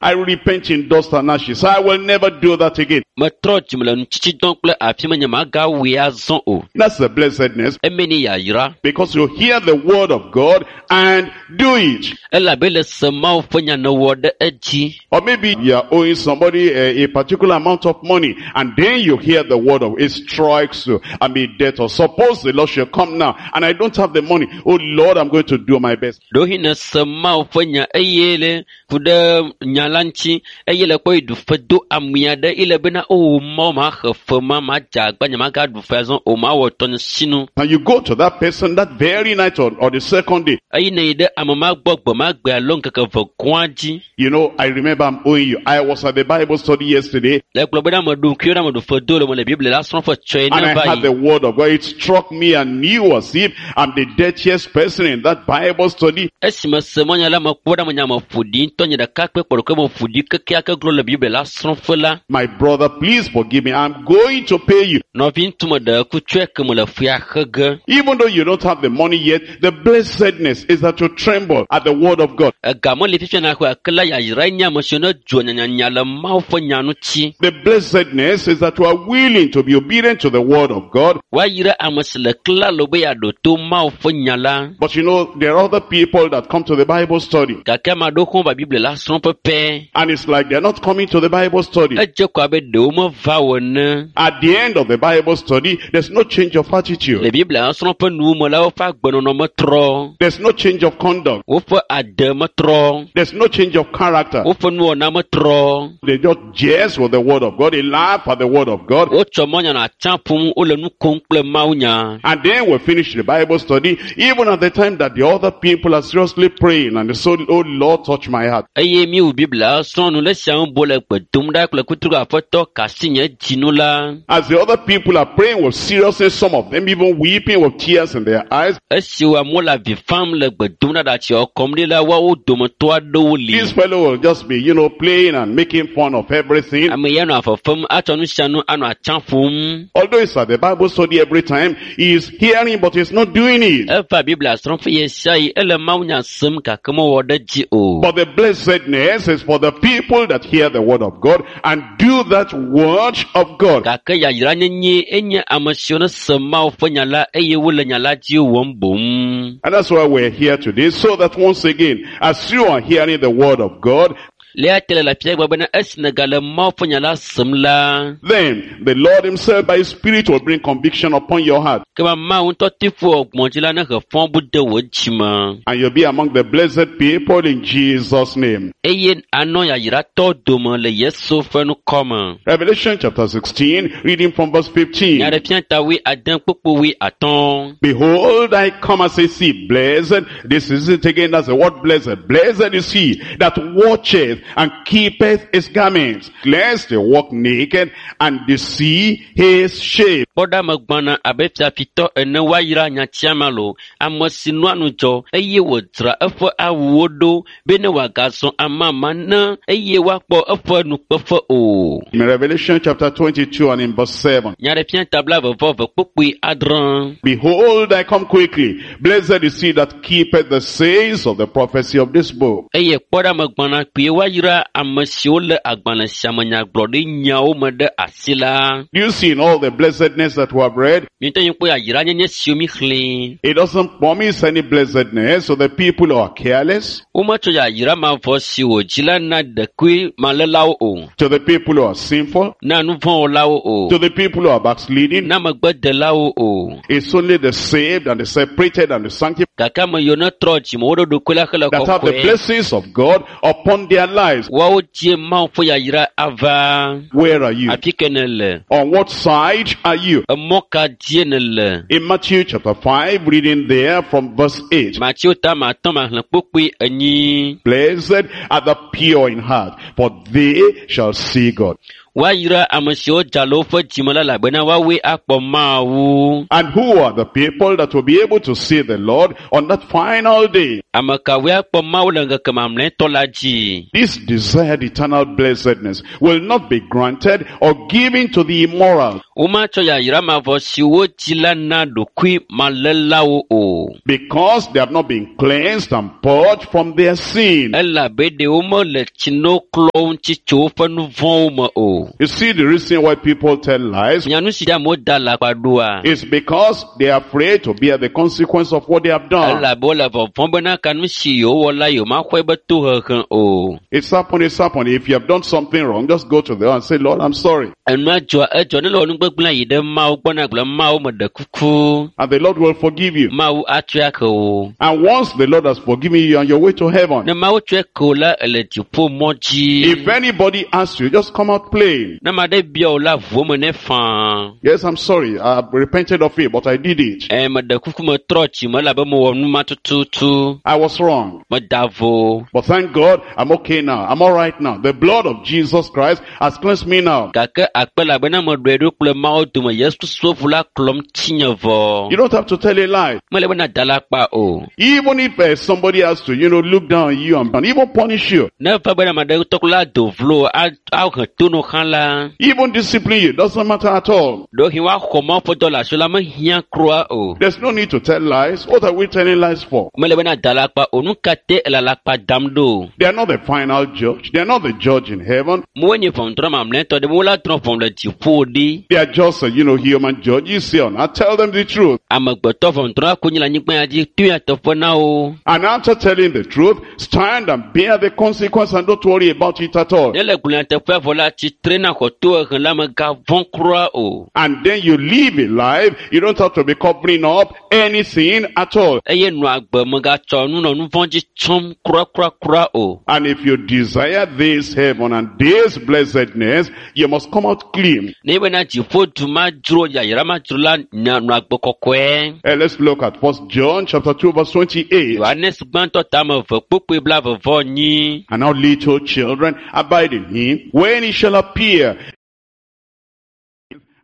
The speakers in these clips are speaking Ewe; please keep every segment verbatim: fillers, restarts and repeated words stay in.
I repent in dust and ashes. I will never do that again. Metrɔ dzime le nutsitsidɔ kple afi me nye magawɔe azɔ o. That's the blessedness Eme ni yayra. because you hear the word of God and do it. Elabe le se Mawu ƒe nya nèwɔ ɖe edzi. Or maybe you are owing somebody a, a particular amount of money and then you hear the word of it strikes you. I'm a debtor. Suppose the Lord shall come now and I don't have the money. Oh Lord, I'm going to do my best. Ɖewohĩ nèse Mawu ƒe nya eye le ku ɖe nya la ŋuti eye le kpɔ yi ɖu fe do ami aɖe ele bena o Mawu maxe fe ma madze agba nye magaɖu fe azɔ o mawɔ tɔnye sinu. And you go to that person that very night or, or the second day. Eye nèyi ɖe ame ma gbɔ gbe ma gbe alo ŋkeke eve gɔ̃a dzi. You know, I remember I'm owing you. I was at the Bible study yesterday Le gblɔ bena meɖo ŋku ɖe meɖu fe do le me le Biblia la srɔ̃ ƒe tsɔe and ne I va had yi. the word of God. It struck me and knew as if I'm the dirtiest person in that Bible study. Esi mese mɔnya la mekpɔ ɖe ame nya me ƒo ɖi ŋutɔ nye ɖeka kpe kpɔ ɖokui me ƒo ɖi kekeake glo le Biblia la srɔ̃ƒe la. My brother, please forgive me. I'm going to pay you. Nɔvi ŋutsu meɖe ku tsɔe ke me le fea xe ge. Even though you don't have the money yet, the blessedness is that you tremble at the word of God. Ega meli fifia na xɔe ake la yayrae nye ame siwo ne dzo nyanyanya le Mawu ƒe nya ŋuti. The blessedness is that you are willing to be obedient to the word of God. Woayra ame si le klalo be yeaɖo to Mawu ƒe nya la. But you know, there are other people that come to the Bible study Gake ame aɖewo hã va Biblia la srɔ̃ pɛpɛ. and it's like they're not coming to the Bible study. Edze ko abe ɖewo meva o ene. At the end of the Bible study, there's no change of Le attitude. Biblia srɔ̃ ƒe nuwo me la, woƒe agbenɔnɔ metrɔ. There's no change of conduct. Woƒe ade metrɔ. There's no change of character. Woƒe nuwɔna metrɔ. They just jest with the word of God. They laugh at the word of God. Wotsɔ mɔnya nɔ atsa ƒom, wole nu kom kple Mawunya. And then we finish the Bible study, even at the time that the other people are seriously praying and they say, oh Lord, touch my heart. Eye míewu Biblia srɔ̃ nu le sia ŋu bo le gbe dom ɖa kple kutru aƒetɔ kasi nye dzinu la. As the other people are praying with seriousness, some of them even weeping with tears in their eyes, Esi wo amewo le avi fam le gbe dom ɖa ɖatsiawo kɔm ɖi la, woawo dometɔ aɖewo li. this fellow will just be, you know, playing and making fun of everything. Ame ya nɔ afefem atsɔ nu sia nu anɔ atsa ƒom. Although it's at the Bible study every time, he is hearing but he's not doing it. Eva Biblia srɔ̃ƒe ɣe sia ɣi, ele Mawunya sem gake mewɔ ɖe edzi o. But the blessedness is for the people that hear the word of God and do that word of God. Gake yayra nyenye enye ame siwo ne se Mawu ƒe nya la eye wole nya la dzi wɔm boŋ. And that's why we're here today, so that once again, as you are hearing the word of God, Le eya ta le afia gblɔ bena esi nègale Mawu ƒe nya la sem la, then the Lord himself by his spirit will bring conviction upon your heart. ke ma Mawu ŋutɔ ti ƒo gbɔ̃ dzi la ne he fɔbu de wò dzime. And you'll be among the blessed people in Jesus' name. Eye anɔ yayratɔ dome le Yesu ƒe ŋkɔ me. Revelation chapter sixteen, reading from verse fifteen. Nyaɖeɖefia ta wui ade kpukpu wui atɔ̃. Behold, I come as a thief. Blessed, this is it again, that's the word blessed. Blessed is he that watcheth and keepeth his garments, lest he walk naked and they see his shame. Kpɔ ɖa megbɔna abe fiafitɔ ene woayra nyatia ma lo. Ame si nɔa ŋudzɔ eye wòdzra eƒe awuwo ɖo bene wòagazɔ amama ne eye woakpɔ eƒe nukpeƒe o. In Revelation chapter twenty-two and in verse seven. Nyaɖeɖefia ta blaeve vɔ eve kpukpui adre. Behold, I come quickly. Blessed is he that keepeth the sayings of the prophecy of this book. Eye kpɔ ɖa megbɔna kpuie woayra ame siwo lé agbalẽ sia me nyagblɔɖi nyawo me ɖe asi la. Do you see in all the blessedness that we have read? Míete ŋu kpɔ yayra nyenye siwo mi xlẽ. It doesn't promise any blessedness to the people who are careless, Wometsɔ yayra mavɔ si wòdzi la na ɖekui malẽlawo o, to the people who are sinful, na nuvɔ̃wɔlawo o, to the people who are backsliding. na megbedelawo o. It's only the saved and the separated and the sanctified Gake ame yiwo ne trɔ dzime wo ɖoɖokui la hele that have the kɔkɔe. blessings of God upon their lives. Woawo dzie Mawu ƒe yayra ava. Where are you? Afi ke nèle? On what side are you? Emɔ ka dzie nèle? In Matthew chapter five, reading there from verse eight. Mateo ta ma atɔ̃ ma xlẽ kpukpui enyi. Blessed are the pure in heart, for they shall see God. Woayra ame siwo dza le woƒe dzime la elabena woawoe akpɔ Mawu. And who are the people that will be able to see the Lord on that final day? Ame kawoe akpɔ Mawu le ŋkeke mamlɛtɔ la dzi? This desired eternal blessedness will not be granted or given to the immoral, Womatsɔ yayra mavɔ si wodzi la na ɖokui malelawo o. Because they have not been cleansed and purged from their sin. Elabe ɖe womele tsino klɔ ŋuti tso woƒe nu vɔ̃wo me o. You see the reason why people tell lies Nya nu si ta amewo da alakpa ɖoa? is because they are afraid to bear the consequence of what they have done. Elabe wole vɔvɔ̃m bena ka nu si yewowɔ la yewomaxɔe be tohehe o. It's happened, it's happened. If you have done something wrong, just go to them and say, Lord, I'm sorry. Enua dzɔa edzɔ ne le wɔ nugbegblẽ yi ɖe Mawu gbɔ na gblɔ Mawu meɖe kuku. And the Lord will forgive you. Mawu atsɔe ake wò. And once the Lord has forgiven you, you're on your way to heaven. Ne Mawu tsɔe ke wò la, ele dziƒo mɔ dzi. If anybody asks you, just come out plain. Ne ame aɖe bia wò la, ʋu eme nɛ faa. Yes, I'm sorry. I repented of it, but I did it. Ɛ meɖe kuku metrɔ dzime elabe mewɔ nu ma tututu. I was wrong. Meda vo. But thank God, I'm okay now. I'm all right now. The blood of Jesus Christ has cleansed me now. Gake akpe elabena meɖɔe ɖo kple Mawu dome Yesu Kristo ʋu la klɔm tsinye vɔ. You don't have to tell a lie. Mele be nada alakpa o. Even if uh, somebody has to, you know, look down on you and, and even punish you, Ne eva be ame aɖe tɔ la do vlo a- ahe to no hã la, even discipline you, doesn't matter at all. ɖewohĩ woaxɔ Mawu ƒe dɔ le asi la mehiã kura o. There's no need to tell lies. What are we telling lies for? Mele be nada alakpa o. Nu ka te ele alakpa dam ɖo? They are not the final judge. They are not the judge in heaven. Mewonye nye ʋɔnudrɔ̃ mamlɛtɔ ɖe wola drɔ̃ ʋɔnu le dziƒo ɖi. They are just, uh, you know, human judges here. Now tell them the truth. Amegbetɔ ʋɔnudrɔ̃la ko nye le anyigba ya dzi to nyateƒe na wo. And after telling the truth, stand and bear the consequence and don't worry about it at all. Ne le gblɔ nyateƒea vɔ la, tsitre na xɔ tohehe la megavɔ̃ kura o. And then you live a life. You don't have to be covering up anything at all. Eye nɔ agbe megatsɔ nu nɔ nu vɔ̃ dzi tsɔm kurakura o. And if you desire this heaven and this blessedness, you must come out clean. Ne bena dziƒo du ma dzro yayra ma dzro la nya nɔ agbe kɔkɔe. Eh, let's look at First John chapter two verse twenty-eight. Yohanes gbãtɔ tame eve kpokpoe blaeve vɔ enyi. And now little children, abide in him when he shall appear,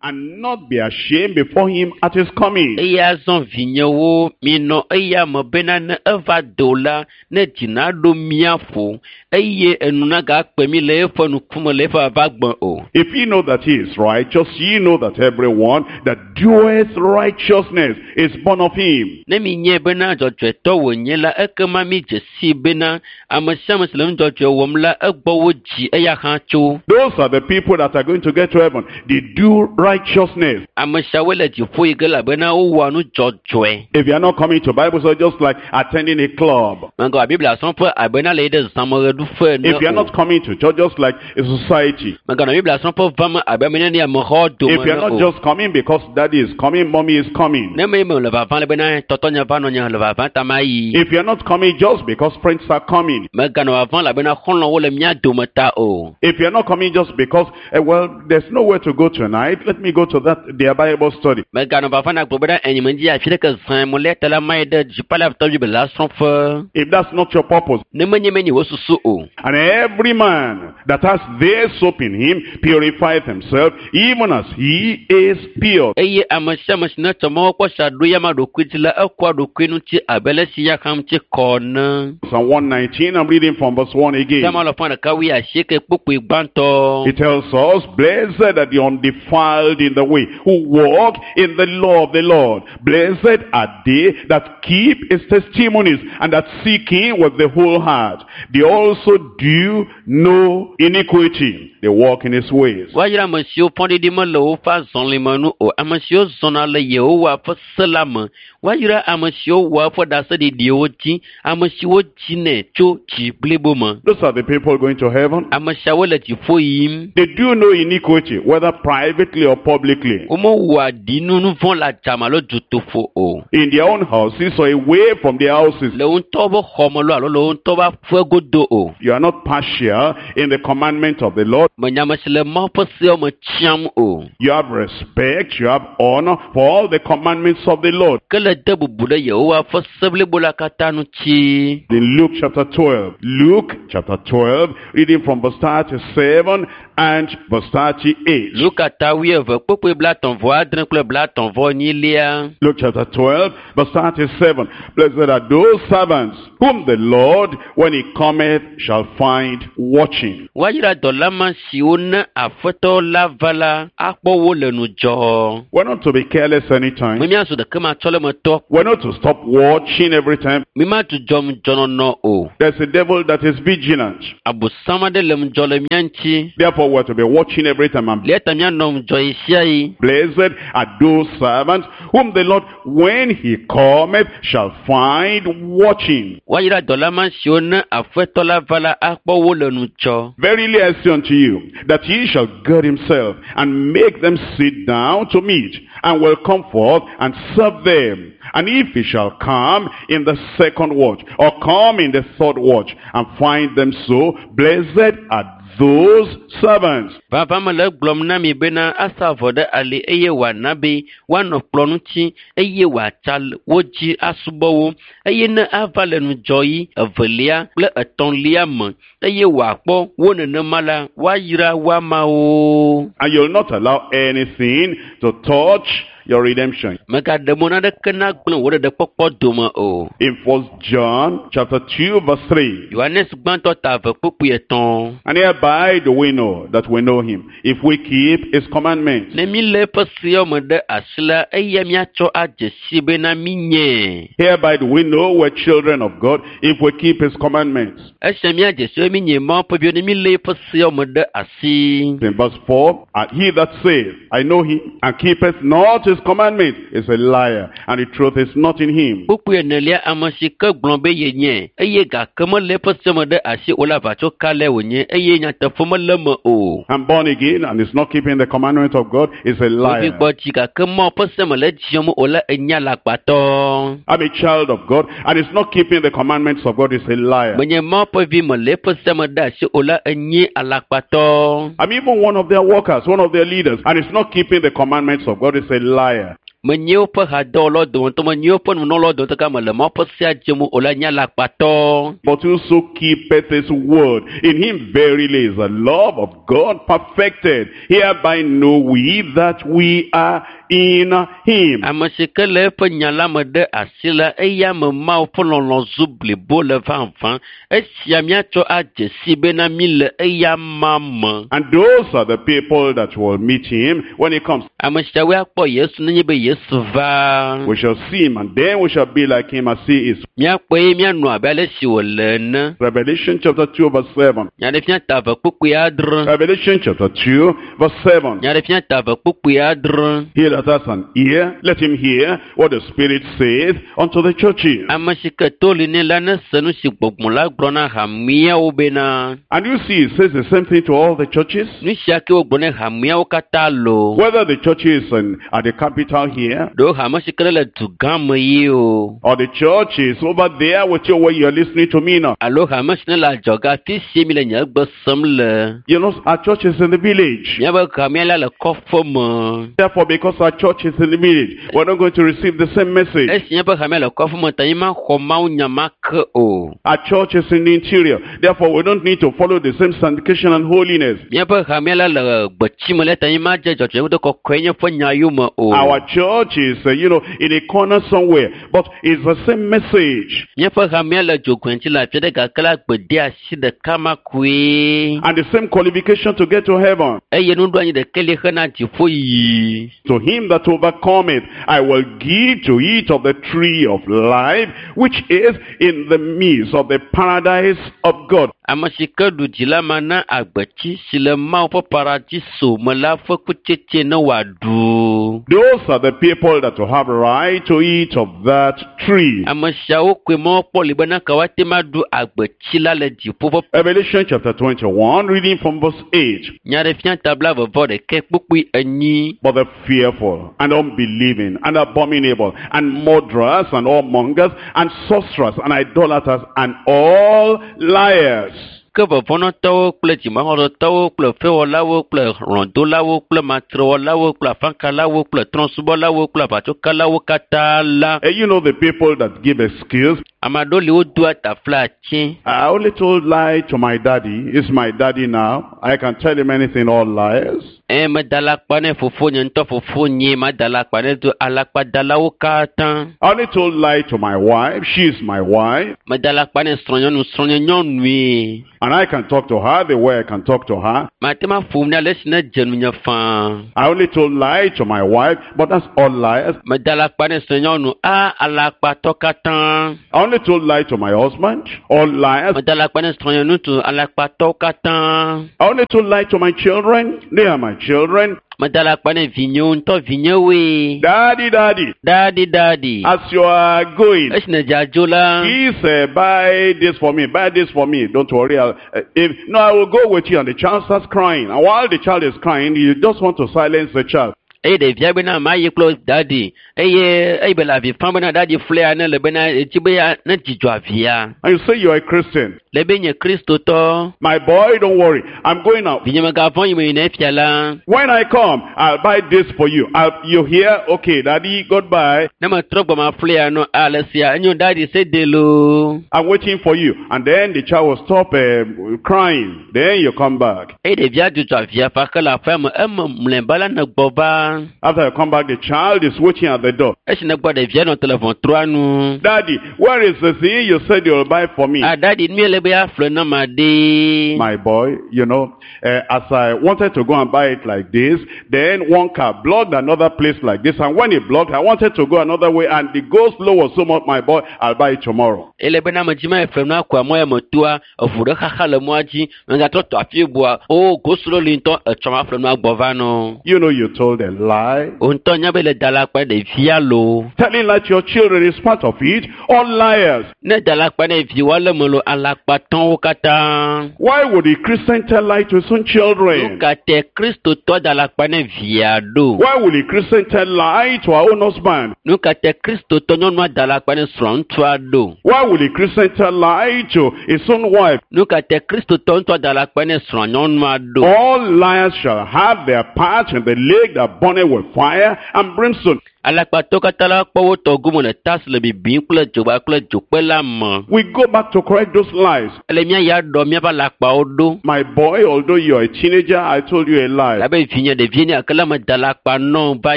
and not be ashamed before him at his coming. Eye azɔ vinyewo, minɔ eya me bena ne eva do la, ne dzi naɖo mía ƒo eye enu nagakpe mí le eƒe ŋkume le eƒe vava gbe o. If ye know that he is righteous, ye know that everyone that doeth righteousness is born of him. Ne minyae bena dzɔdzɔetɔ wònye la, ekema midze sii bena ame sia ame si le nu dzɔdzɔe wɔm la, egbɔ wodzi eya hã tso. Those are the people that are going to get to heaven. They do righteousness. Ame siawoe le dziƒo yi ge elabena wowɔa nu dzɔdzɔe. If you are not coming to Bible study, just like attending a club. Megawɔ Biblia srɔ̃ƒe abena le yi ɖe zãmeɣeɖuƒe ene If you are o. not coming to church, just like a society. Meganɔ Biblia srɔ̃ƒe vam abe ame nene amexɔ dome If you are ene not o. just coming because daddy is coming, mommy is coming. Ne me me le vava le bena tɔtɔnye va nɔnye le vava ta ma yi. If you are not coming just because friends are coming. Meganɔ vava elabena xɔlɔ̃wo le mía dome ta o. If you are not coming just because, eh, well, there's nowhere to go tonight, let me go to that, their Bible study. Meganɔ vava na gblɔ bena enyi me dzi afi ɖeke zã mo le ta la ma yi ɖe dziƒola Biblia srɔ̃ƒe. If that's not your purpose. Ne menye menye wo susu o. And every man that has this hope in him purifieth himself, even as he is pure. Eye ame sia ame si netsɔ Mawu kpɔ sia ɖo ya ma ɖokui dzi la, ekɔa ɖokui ŋuti abe ale si ya hã ŋuti kɔ ene. Psalm one nineteen, I'm reading from verse one again. Psalm alafa ɖeka wuiasieke kpukpui gbãtɔ. It tells us, blessed are the undefiled in the way, who walk in the law of the Lord. Blessed are they that keep his testimonies and that seek him with the whole heart. They also do no iniquity. They walk in his ways. Woayra ame siwo fɔɖiɖi mele woƒe azɔlime nu o, ame siwo zɔna le Yehowa ƒe se la me. Woayra ame siwo wɔa eƒe ɖaseɖiɖiwo dzi, ame siwo dzinɛ tso dzi blibo me. Those are the people going to heaven. Ame siawo le dziƒo yim. They do no iniquity, whether privately or publicly. Womewɔa ɖinu nu vɔ̃ le adzame alo dutoƒo o. In their own houses or away from their houses. Le wo ŋutɔ ƒe xɔme loo alo le wo ŋutɔ ƒe aƒe godo o. You are not partial in the commandment of the Lord. Menye ame si le Mawu ƒe seawo me tsiam o. You have respect, you have honor for all the commandments of the Lord. Ke le Ele de bubu ɖe Yehowa ƒe se blibo la katã ŋuti. In Luke chapter twelve, Luke chapter twelve, reading from verse thirty-seven and verse thirty-eight. Luka ta wuieve kpukpui blaetɔ̃ vɔ adre kple blaetɔ̃ vɔ enyilia. Luke chapter twelve, verse thirty-seven. Blessed are those servants whom the Lord, when he cometh, shall find watching. Woayra dɔla ma siwo ne Aƒetɔ la va la, akpɔ wo le ŋudzɔ. We're not to be careless anytime. Mi míazu ɖekematsɔlemetɔ. We're not to stop watching every time. Mi madzudzɔ ŋudzɔnɔnɔ o. There's a devil that is vigilant. Abosam aɖe le ŋudzɔ le mía ŋuti. Therefore, we're to be watching every time. And Eya ta míanɔ ŋudzɔ ɣe sia ɣi. blessed are those servants whom the Lord, when he cometh, shall find watching. Woayra dɔla ma siwo ne Aƒetɔ la va la, akpɔ wo le ŋudzɔ. Verily I say unto you, that he shall gird himself and make them sit down to meat, and will come forth and serve them. And if he shall come in the second watch, or come in the third watch, and find them so, blessed are those servants. Vava mele egblɔm na mi bena asa avɔ ɖe ali eye wòana be woanɔ kplɔ̃ ŋuti eye wòatsa wo dzi asubɔ wo eye ne ava le ŋudzɔɣi evelia kple etɔ̃lia me eye wòakpɔ wo nenema la, woayra woamawo. And you'll not allow anything to touch your redemption. Mègaɖe mɔ naneke nagblẽ wò ɖeɖekpɔkpɔ dome o. In First John chapter two verse three. Yohanes gbãtɔ ta eve kpukpui etɔ̃. And hereby do we know that we know him, if we keep his commandments. Ne mi lé eƒe seawo me ɖe asi la, eya míatsɔ adze si bena mi nye. Hereby do we know we're children of God, if we keep his commandments. Esia míadze si be mi nye Mawu ƒe viwo ne mi lé eƒe seawo me ɖe asi. In verse four, and he that saith, I know him, and keepeth not his commandment, is a liar, and the truth is not in him. Kpukpui enelia, ame si ke gblɔ be yenye, eye gake melé eƒe se me ɖe asi o la, ʋatsokalae wònye, eye nyateƒe mele eme o. And born again and is not keeping the commandment of God is a liar. Wovi gbɔ dzi gake Mawu ƒe se mele dziɔm o la, enye alakpatɔ. I'm a child of God and is not keeping the commandments of God is a liar. Menye Mawu ƒe vi mele eƒe se me ɖe asi o la, enye alakpatɔ. I'm even one of their workers, one of their leaders, and is not keeping the commandments of God is a liar. Menye woƒe hadɔwɔlawo dometɔ, menye woƒe nunɔlawo dometɔ ke mele Mawu ƒe sea dzem o la, nye alakpatɔ. But whoso keepeth his word, in him verily is the love of God perfected. Hereby know we that we are in him. Ame si ke le eƒe nya la me ɖe asi la, eya me Mawu ƒe lɔlɔ̃ zu blibo le vavã. Esia míatsɔ adze si bena mí le eya ma me. And those are the people that will meet him when he comes. Ame siawoe akpɔ Yesu nenye be Yesu va. We shall see him, and then we shall be like him as he is. Míakpɔe eye míanɔ abe ale si wòle ene. Revelation chapter two verse seven. Nyaɖeɖefia ta eve kpukpui adre. Revelation chapter two verse seven. Nyaɖeɖefia ta eve kpukpui adre. He that has an ear, let him hear what the Spirit saith unto the churches. Ame si ke to li nɛ la nese nu si gbɔgbɔ la gblɔ na hameawo bena. And you see, it says the same thing to all the churches. Nu sia ke wogblɔ ne hameawo katã loo. Whether the church is in, at the capital here, Ɖewo hame si ke le dugã me ye o. or the church is over there with you where you're listening to me now. Alo hame si ne le adzɔge afi si mi le nye gbe sem le. You know, our church is in the village. Míaƒe hamea la le kɔƒe me. Therefore, because our church is in the village, we're not going to receive the same message. Esi míaƒe hamea le kɔƒe me ta mi maxɔ Mawu nya ma ke o. Our church is in the interior. Therefore, we don't need to follow the same sanctification and holiness. Míaƒe hamea la le gbetsi me le ta mi madze dzɔdzɔenye kɔkɔe nye ƒe nya yome o. Our church is, uh, you know, in a corner somewhere, but it's the same message. Míaƒe hamea le dzogoe ŋuti le afi ɖe gake la gbedeasi ɖeka ma koe. And the same qualification to get to heaven. Eye nuɖoanyi ɖeka li hena dziƒo yiyi. To him that overcometh, I will give to eat of the tree of life, which is in the midst of the paradise of God. Ame si ke ɖu dzi la mana agbetsi si le Mawu ƒe paradiso me la ƒe kutsetse ne wòaɖu. Those are the people that will have right to eat of that tree. Ame siawo koe mɔkpɔ li bena ke woate ŋu aɖu agbetsi la le dziƒo ƒe Revelation chapter twenty-one, reading from verse eight. Nyaɖeɖefia ta blaeve vɔ ɖekɛ kpukpui enyi. But the fearful and unbelieving and abominable and murderers and whoremongers and sorcerers and idolaters and all liars. Ke vɔvɔ̃nɔtɔwo kple dzimaxɔsetɔwo kple fewɔlawo kple hlɔ̃dolawo kple matrewɔlawo kple afakalawo kple trɔ̃subɔlawo kple aʋatsokalawo katã la. And you know the people that give excuse. Ame aɖewo li wodoa taflatse. I only told lie to my daddy. He's my daddy now. I can tell him anything, all lies. Eye meda alakpa ne fofonye ŋutɔ fofonye mada alakpa ne do alakpadalawo katã. I only told lie to my wife. She's my wife. Meda alakpa ne srɔ̃nyɔnu srɔ̃nyenyɔnue. And I can talk to her the way I can talk to her. Mate ŋu aƒo nu ale si ne dze nunye faa. I only told lie to my wife, but that's all lies. Meda alakpa ne srɔ̃nyɔnu a alakpatɔ katã. I only told lie to my husband, all lies. Meda alakpa ne srɔ̃nyeŋutsu alakpatɔwo katã. I only told lie to my children. They are my children. Meda alakpa ne vinyewo ŋutɔ vinyewoe. Daddy, daddy, Daddy daddy. as you are going, Esi ne dze adzo la. please uh, buy this for me, buy this for me. Don't worry. I'll, uh, if, no, I will go with you. And the child starts crying. And while the child is crying, you just want to silence the child. Eye ɖevia bena ma yi kple daddy eye eye be le avi fam bena daddy flea ne le bena etsi be ya ne dzidzɔ avia. And you say you are a Christian. Le be nye kristotɔ. My boy, don't worry. I'm going out. Vinye megavɔ̃ yi me yina efia la. When I come, I'll buy this for you. I'll, you hear? Okay, daddy, goodbye. Ne metrɔ gbɔ ma flea no ale sia enyo daddy se de loo. I'm waiting for you. And then the child will stop uh, crying. Then you come back. Eye ɖevia dzudzɔ avia fa ke le aƒea me eme mlɔeba la ne gbɔ va. After you come back, the child is waiting at the door. Esi ne gbɔ ɖevia nɔ te le ʋɔtrua nu. Daddy, where is the thing you said you'll buy for me? A daddy nu le be aƒle na ma ɖe. My boy, you know, uh, as I wanted to go and buy it like this, then one car blocked another place like this, and when it blocked, I wanted to go another way, and the go slow was so much, my boy, I'll buy it tomorrow. Ele bena me dzi ma eƒle nua koa mɔ ya me toa eʋu ɖe xaxa le mɔa dzi megatrɔ tɔ afi bua o go slow li ŋutɔ etsɔ ma ƒle nua gbɔ va nɔ. You know you told a lie. O ŋutɔ nya be le da alakpa ɖevia loo. Telling lie to your children is part of it. All liars. Ne da alakpa ne viwoa le me lo alakpatɔwo katã. Why would a Christian tell lie to his own Nu children? ka te kristotɔ da alakpa ne via ɖo? Why would a Christian tell lie to her own husband? Nu ka te kristotɔ nyɔnua da alakpa ne srɔ̃ŋutsua ɖo? Why would a Christian tell lie to his own wife? Nu ka te kristotɔ ŋutɔ da alakpa ne srɔ̃nyɔnua ɖo? All liars shall have their part in the lake that burneth with fire and brimstone. Alakpatɔwo katã la kpɔ wo tɔ gome le ta si le bibim kple dzogba kple dzokpe la me. We go back to correct those lies. Ele mía ya ɖɔ míaƒe alakpawo ɖo. My boy, although you're a teenager, I told you a lie. Abe vinye ɖevi ne gake la meda alakpa nɔ va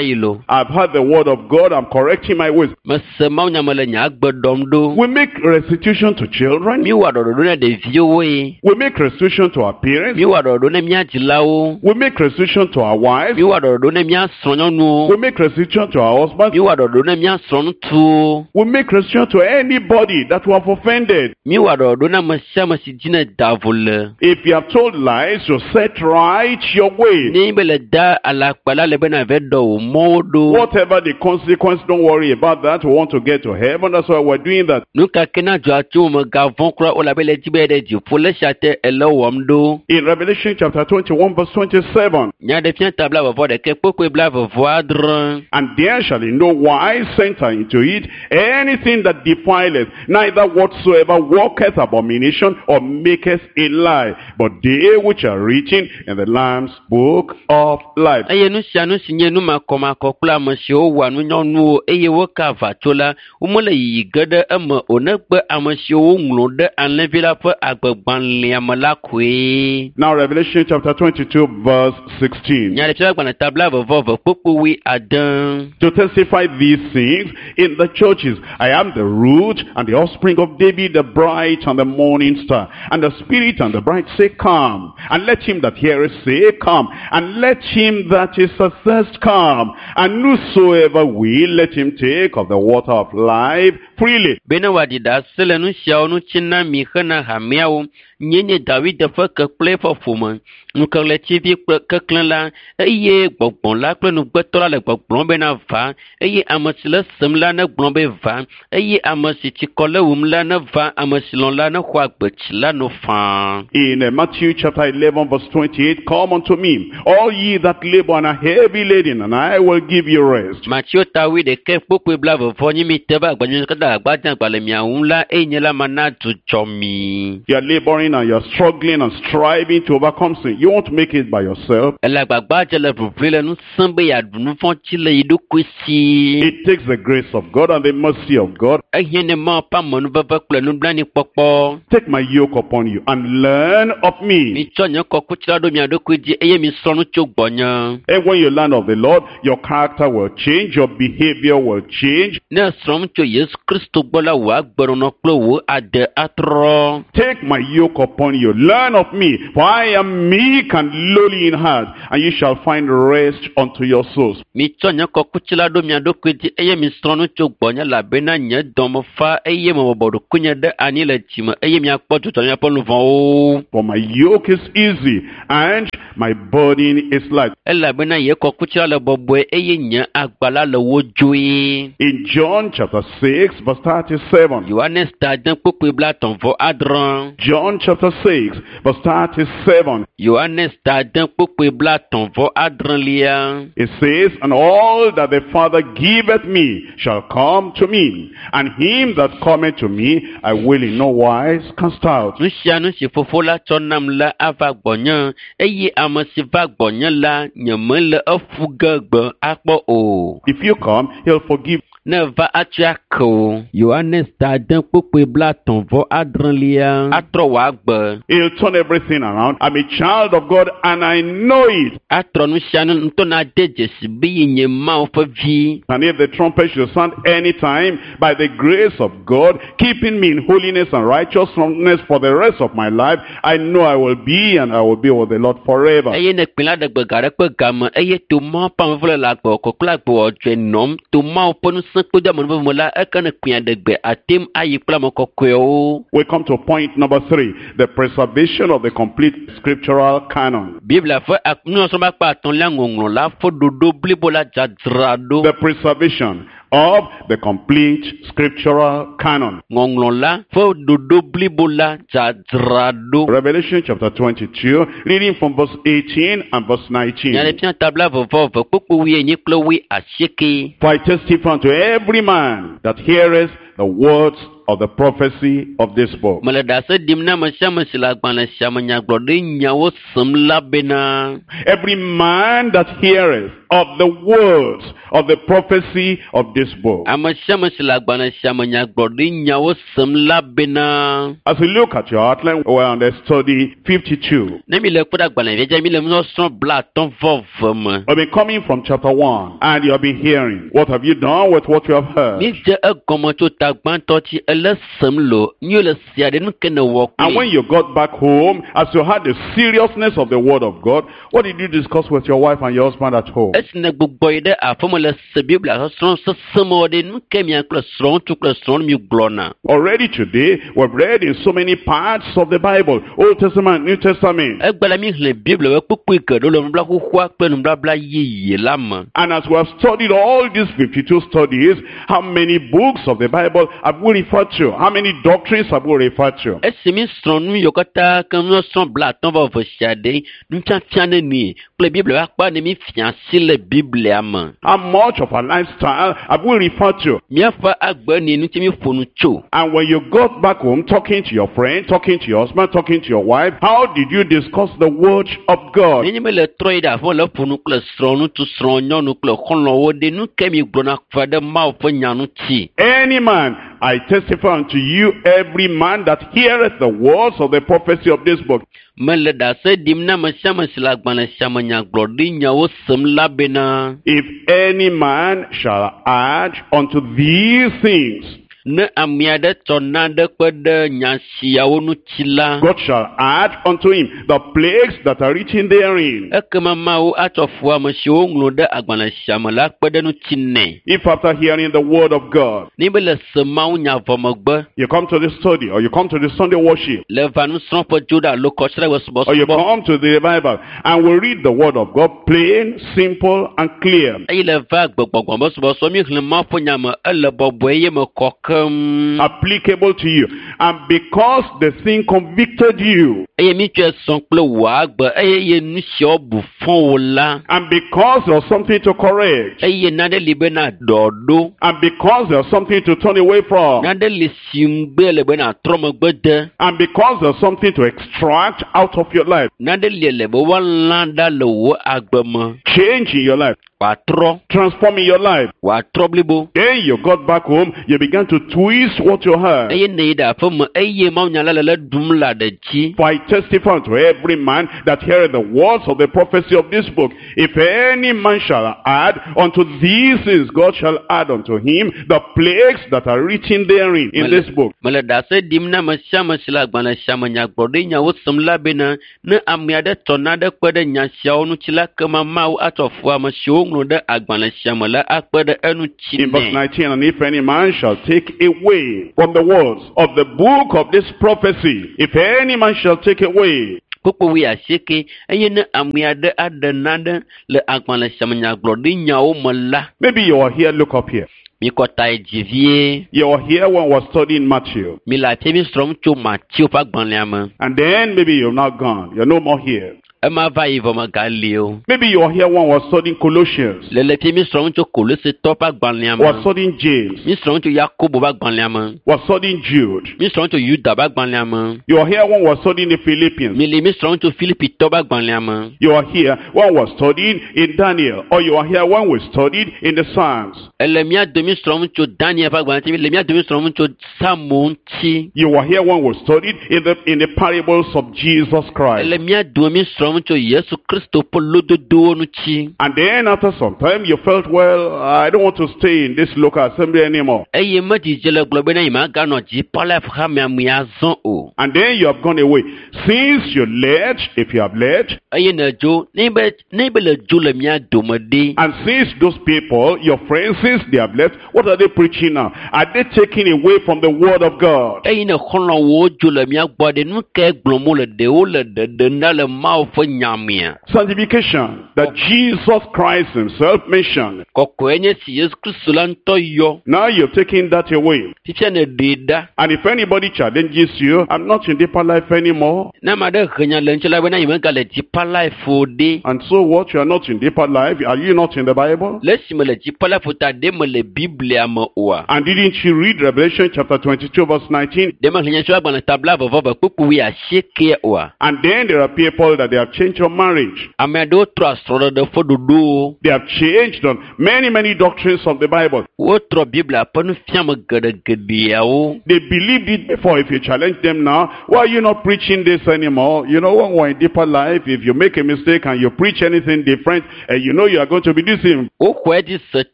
yi lo. I've heard the word of God. I'm correcting my ways. Mese mawunya me le nye agbe ɖɔm ɖo. We make restitution to children. Míwɔ ɖɔɖɔɖo ne ɖeviwo ye. We make restitution to our parents. Míwɔ ɖɔɖɔɖo ne mía dzilawo. We make restitution to our wives. Míwɔ ɖɔɖɔɖo ne mía srɔ̃nyɔnuwo. We make restitution to our husbands. Míwɔ ɖɔɖɔɖo ne mía srɔ̃ŋutsuwo. We make restitution to anybody that we have offended. Míwɔ ɖɔɖɔɖo ne ame sia ame si dzi ne da vo le. If you have told lies, you set right your way. Ne be le da alakpa la le be na ve ɖɔ wò mɔwo ɖo. Whatever the consequence, don't worry about that. We want to get to heaven. That's why we're doing that. Nu ka ke na dzɔa tso megavɔ̃ kura o labe le dzi be ɖe dziƒo le sia te ele wɔm ɖo. In Revelation chapter twenty-one, verse twenty-seven, Nyaɖeɖefia ta blaeve vɔ ɖekɛ kpokpoe blaeve vɔ adre. And there shall in no wise enter into it anything that defileth, neither whatsoever worketh abomination or maketh a lie, but they which are written in the Lamb's book of life. Eye nu sia nu si nye numakɔmakɔ kple ame siwo wɔa nunyɔnuwo eye woka aʋatso la, womele yiyi ge ɖe eme o negbe ame siwo woŋlɔ ɖe alẽvi la ƒe agbegbalẽa me la koe. Now Revelation chapter twenty-two verse sixteen. Nyaɖeɖefia gbalẽ ta blaeve vɔ eve kpokpo wui ade. To testify these things in the churches. I am the root and the offspring of David, the bright and the morning star. And the Spirit and the bride say, come. And let him that heareth say, come. And let him that is athirst come. And whosoever will, let him take of the water of life freely. Bene wòaɖi ɖase le nu siawo ŋuti na mi hena hameawo. Nye nye David ƒe ke kple eƒe ƒome, ŋukeɣletivi kple keklẽ la, eye gbɔgbɔ la kple nugbetɔ la le gbɔgblɔm bena va, eye ame si le sem la negblɔ be va, eye ame si tsikɔ le wum la neva, ame si lɔ̃ la nexɔ agbetsi la no faa. In uh, Matthew chapter eleven verse twenty-eight, come unto me, all ye that labor and are heavy laden, and I will give you rest. Mateo ta wuiɖekɛ kpokpoe blaeve vɔ nyi mi te va agbanyuiwo katã agbadze agba le mia ŋu la, eye nye la mana dzudzɔ mi. You are laboring battling and you're struggling and striving to overcome sin. You won't make it by yourself. Ele agbagba dze le ʋiʋli le nu sẽm be yeaɖu nu vɔ̃ dzi le yi ɖokui si. It takes the grace of God and the mercy of God. Ehiã ne Mawu ƒe amenuveve kple nublanuikpɔkpɔ. Take my yoke upon you and learn of me. Mitsɔ nye kɔkuti la ɖo mia ɖokui dzi eye misrɔ̃ nu tso gbɔnye. And when you learn of the Lord, your character will change, your behavior will change. Ne esrɔ̃ nu tso Yesu Kristo gbɔ la, wò agbenɔnɔ kple wò ade atrɔ. Take my yoke upon you, learn of me, for I am meek and lowly in heart, and you shall find rest unto your souls. Mitsɔ nye kɔkuti la ɖo mia ɖokui dzi eye misrɔ̃ nu tso gbɔnye elabena nye dɔme fa eye mebɔbɔ ɖokuinye ɖe anyi le dzime eye miakpɔ dzudzɔ na miaƒe luʋɔwo. For my yoke is easy and my burden is light. Elabena nye kɔkuti la le bɔbɔe eye nye agba la le wodzoe. In John chapter six, verse thirty-seven. Yohanes ta ade kpukpui blaetɔ̃ vɔ adre. John chapter six, verse thirty-seven. Yohanes ta ade kpukpui blaetɔ̃ vɔ adrelia. It says, And all that the Father giveth me shall come to me, and him that cometh to me I will in no wise cast out. Nu sia nu si fofo la tsɔ nam la ava gbɔnye eye ame si va gbɔnye la nyemele eƒu ge gbe akpɔ o. If you come, he'll forgive. Ne va atsɔe ake o. Yohanes ta ade kpukpui blaetɔ̃ vɔ adrelia. Atrɔ wò agbe. He'll turn everything around. I'm a child of God and I know it. Atrɔ nu sia nu ŋutɔ na de dzesi be ye nye Mawu ƒe vi. And if the trumpet should sound any time, by the grace of God, keeping me in holiness and righteousness for the rest of my life, I know I will be and I will be with the Lord forever. Eye ne kpẽ la ɖe gbe ga ɖe kpe game eye to Mawu ƒe amevele le agbe kɔkɔ le agbe wɔdzɔe nɔm to Mawu ƒe ŋusẽ kple amenuveve me la eke ne kpẽa ɖe gbe ate ŋu ayi kple ame kɔkɔewo. We come to point number three, the preservation of the complete scriptural canon. Biblia ƒe ak- nusɔsrɔ̃ ƒe akpa atɔ̃lia ŋɔŋlɔ la ƒe ɖoɖo blibo la dzadzra ɖo. The preservation of the complete scriptural canon. Ŋɔŋlɔ la ƒe ɖoɖo blibo la dzadzra ɖo. Revelation chapter twenty-two, reading from verse eighteen and verse nineteen. Nyaɖeɖefia ta blaeve vɔ eve kpukpui wuienyi kple wui asieke. For I testify unto every man that heareth the words of the prophecy of this book. Mele ɖase ɖim na ame sia ame si le agbalẽ sia me nyagblɔɖi nyawo sem la bena. Every man that heareth of the words of the prophecy of this book. Ame sia ame si le agbalẽ sia me nyagblɔɖi nyawo sem la bena. As we look at your outline, we're on the study fifty-two. Ne mi le kpɔ ɖe agbalẽvia dzi, mi le nusɔsrɔ̃ blaatɔ̃ vɔ eve me. We've been coming from chapter one, and you have been hearing. What have you done with what you have heard? Mi dze egɔme tso ta gbãtɔ tsi ele sem lo, mi le sia ɖe nu ke ne wɔ And when kpli. you got back home, as you heard the seriousness of the word of God, what did you discuss with your wife and your husband at home? Esi ne gbugbɔ yi ɖe aƒeme le se Biblia sɔsrɔ̃ sesẽ me wɔ ɖe, nu ke mia kple srɔ̃ŋutsu kple srɔ̃nyɔnu mi gblɔna. Already today, we've read in so many parts of the Bible, Old Testament, New Testament. Egbe la mi xlẽ Biblia ƒe kpukpui geɖewo le nubabla xoxoa kple nubabla yeye la me. And as we have studied all these fifty-two studies, how many books of the Bible have we referred to? How many doctrines have we referred to? Esi mi srɔ̃ nu yiwo katã ke nusɔsrɔ̃ blaatɔ̃ vɔ eve sia ɖe, nufiafia nenie kple Biblia ƒe akpa ne mi fia asi le Biblia me. How much of our lifestyle have we referred to? Míaƒe agbe ni ŋuti mi ƒo nu tso. And when you got back home, talking to your friend, talking to your husband, talking to your wife, how did you discuss the word of God? Nenye be le trɔ yi ɖe aƒeme le ƒo nu kple srɔ̃ŋutsu, srɔ̃nyɔnu kple xɔlɔ̃wo ɖe, nu ke mi gblɔna va ɖe Mawu ƒe nya ŋuti. Any man, I testify unto you, every man that heareth the words of the prophecy of this book. Mele ɖase ɖim na ame sia ame si le agbalẽ sia me nyagblɔɖi nyawo sem la bena. If any man shall add unto these things, Ne ame aɖe tsɔ naɖe kpe ɖe nya siawo ŋuti la, God shall add unto him the plagues that are written therein. Ekema Mawu atsɔ fu ame siwo ŋlɔ ɖe agbalẽ sia me la kpe ɖe ŋuti nɛ. If after hearing the word of God, Ne be le se Mawu nya vɔ megbe, you come to the study or you come to the Sunday worship, le va nusrɔ̃ƒe dzo ɖe alo kɔsiɖagbe or you subɔsubɔ, come to the revival and we read the word of God plain, simple, and clear. Eye le va gbegbɔgbɔ me subɔsubɔ mi xlẽ Mawu ƒe nya me ele bɔbɔe eye me kɔ ke. hem Applicable to you. And because the thing convicted you, eye mítsɔe sɔ kple wò agbe eye ye nu siawo bu fɔ wò la and because there's something to correct, eye nane li bena ɖɔ ɖo and because there's something to turn away from, nane li si ŋugbe le bena trɔ megbe de and because there's something to extract out of your life, nane li le be woalã ɖa le wò agbe me change in your life, wòatrɔ transform in your life. wòatrɔ blibo Then you got back home, you began to twist what you heard. eye ne yi ɖe aƒe me eye mawunya la le le ɖum le aɖe dzi For I testify unto every man that heareth the words of the prophecy of this book. If any man shall add unto these things, God shall add unto him the plagues that are written therein in this book. mele ɖase ɖim na ame sia ame si le agbalẽ sia me nyagblɔɖinyawo sem la bena ne ame aɖe tɔ naɖe kpe ɖe nya siawo ŋuti la kema Mawu atsɔ fu ame siwo ŋlɔ ɖe agbalẽ sia me la akpe ɖe eŋuti In verse nɛ. nineteen, and if any man shall take away from the words of the book of this prophecy, if any man shall take away, Kpukpu wui asieke eye ne ame aɖe aɖe naɖe le agbalẽ sia me nyagblɔɖinyawo me la maybe you are here, look up here. mikɔ ta yi dzi vie. You are here when we're studying Matthew. Mi le afia mi srɔ̃m tso Mateo ƒe agbalẽa me. And then maybe you've not gone. You're no more here. Ema va yi vɔ megali o. Maybe you are here when we're studying Colossians. Le le fia mi srɔ̃m tso Kolosetɔ ƒe agbalẽa We're me. studying James. Mi srɔ̃m tso Yakobo ƒe agbalẽa me. We're studying Jude. Mi srɔ̃m tso Yuda ƒe agbalẽa me. You are here when we're studying the Philippians. Mi li mi srɔ̃m tso Filipitɔ ƒe agbalẽa me. You are here when we're studying in Daniel. Or you are here when we studied in the Psalms. Ele mía domi srɔ̃m tso Daniel ƒe agbalẽ ŋuti. Le mía domi srɔ̃m tso Psalmo ŋuti. You are here when we studied in the, in the parables of Jesus Christ. Ele mía domi srɔ̃m tso Yesu Kristo ƒe lododowo ŋuti. And then after some time you felt, well, I don't want to stay in this local assembly anymore. Eye medzidze le gblɔ bena nyemaganɔ Deeper Life hamea me azɔ o. And then you have gone away. Since you left, if you have left, Eye nèdzo, ne be ne be le dzo le mía dome ɖe. and since those people, your friends, since they have left, what are they preaching now? Are they taking away from the word of God? Eye ne xɔlɔ̃wo dzo le mía gbɔ ɖe, nu kae gblɔm wole ɖe wole ɖeɖem ɖa le Mawu ƒe nya mea? Sanctification that Jesus Christ himself mentioned. Kɔkɔe nye si Yesu Kristo la ŋutɔ yɔ. Now you've taken that away. Fifia nèɖee ɖa. And if anybody challenges you, I'm not in Deeper Life anymore. Ne ame aɖe he nya le ŋuti la bena nyemegale Deeper Life o ɖe. And so what? You are not in Deeper Life? Are you not in the Bible? Le esime le Deeper Life o ta ɖe mele Biblia me oa? And didn't you read Revelation chapter twenty-two verse nineteen? Ɖe mexlẽ nya tso agbalẽ ta blaeve vɔ eve kpukpui wui asiekea oa? And then there are people that they have changed on marriage. Ame aɖewo trɔ srɔ̃ɖeɖe ƒe ɖoɖowo. They have changed on many, many doctrines of the Bible. Wotrɔ Biblia ƒe nufiame geɖegeɖeawo. They believed it before. If you challenge them now, why are you not preaching this anymore? You know, when we're in Deeper Life, if you make a mistake and you preach anything different, and you know you are going to be deceived. Woxɔe dzi se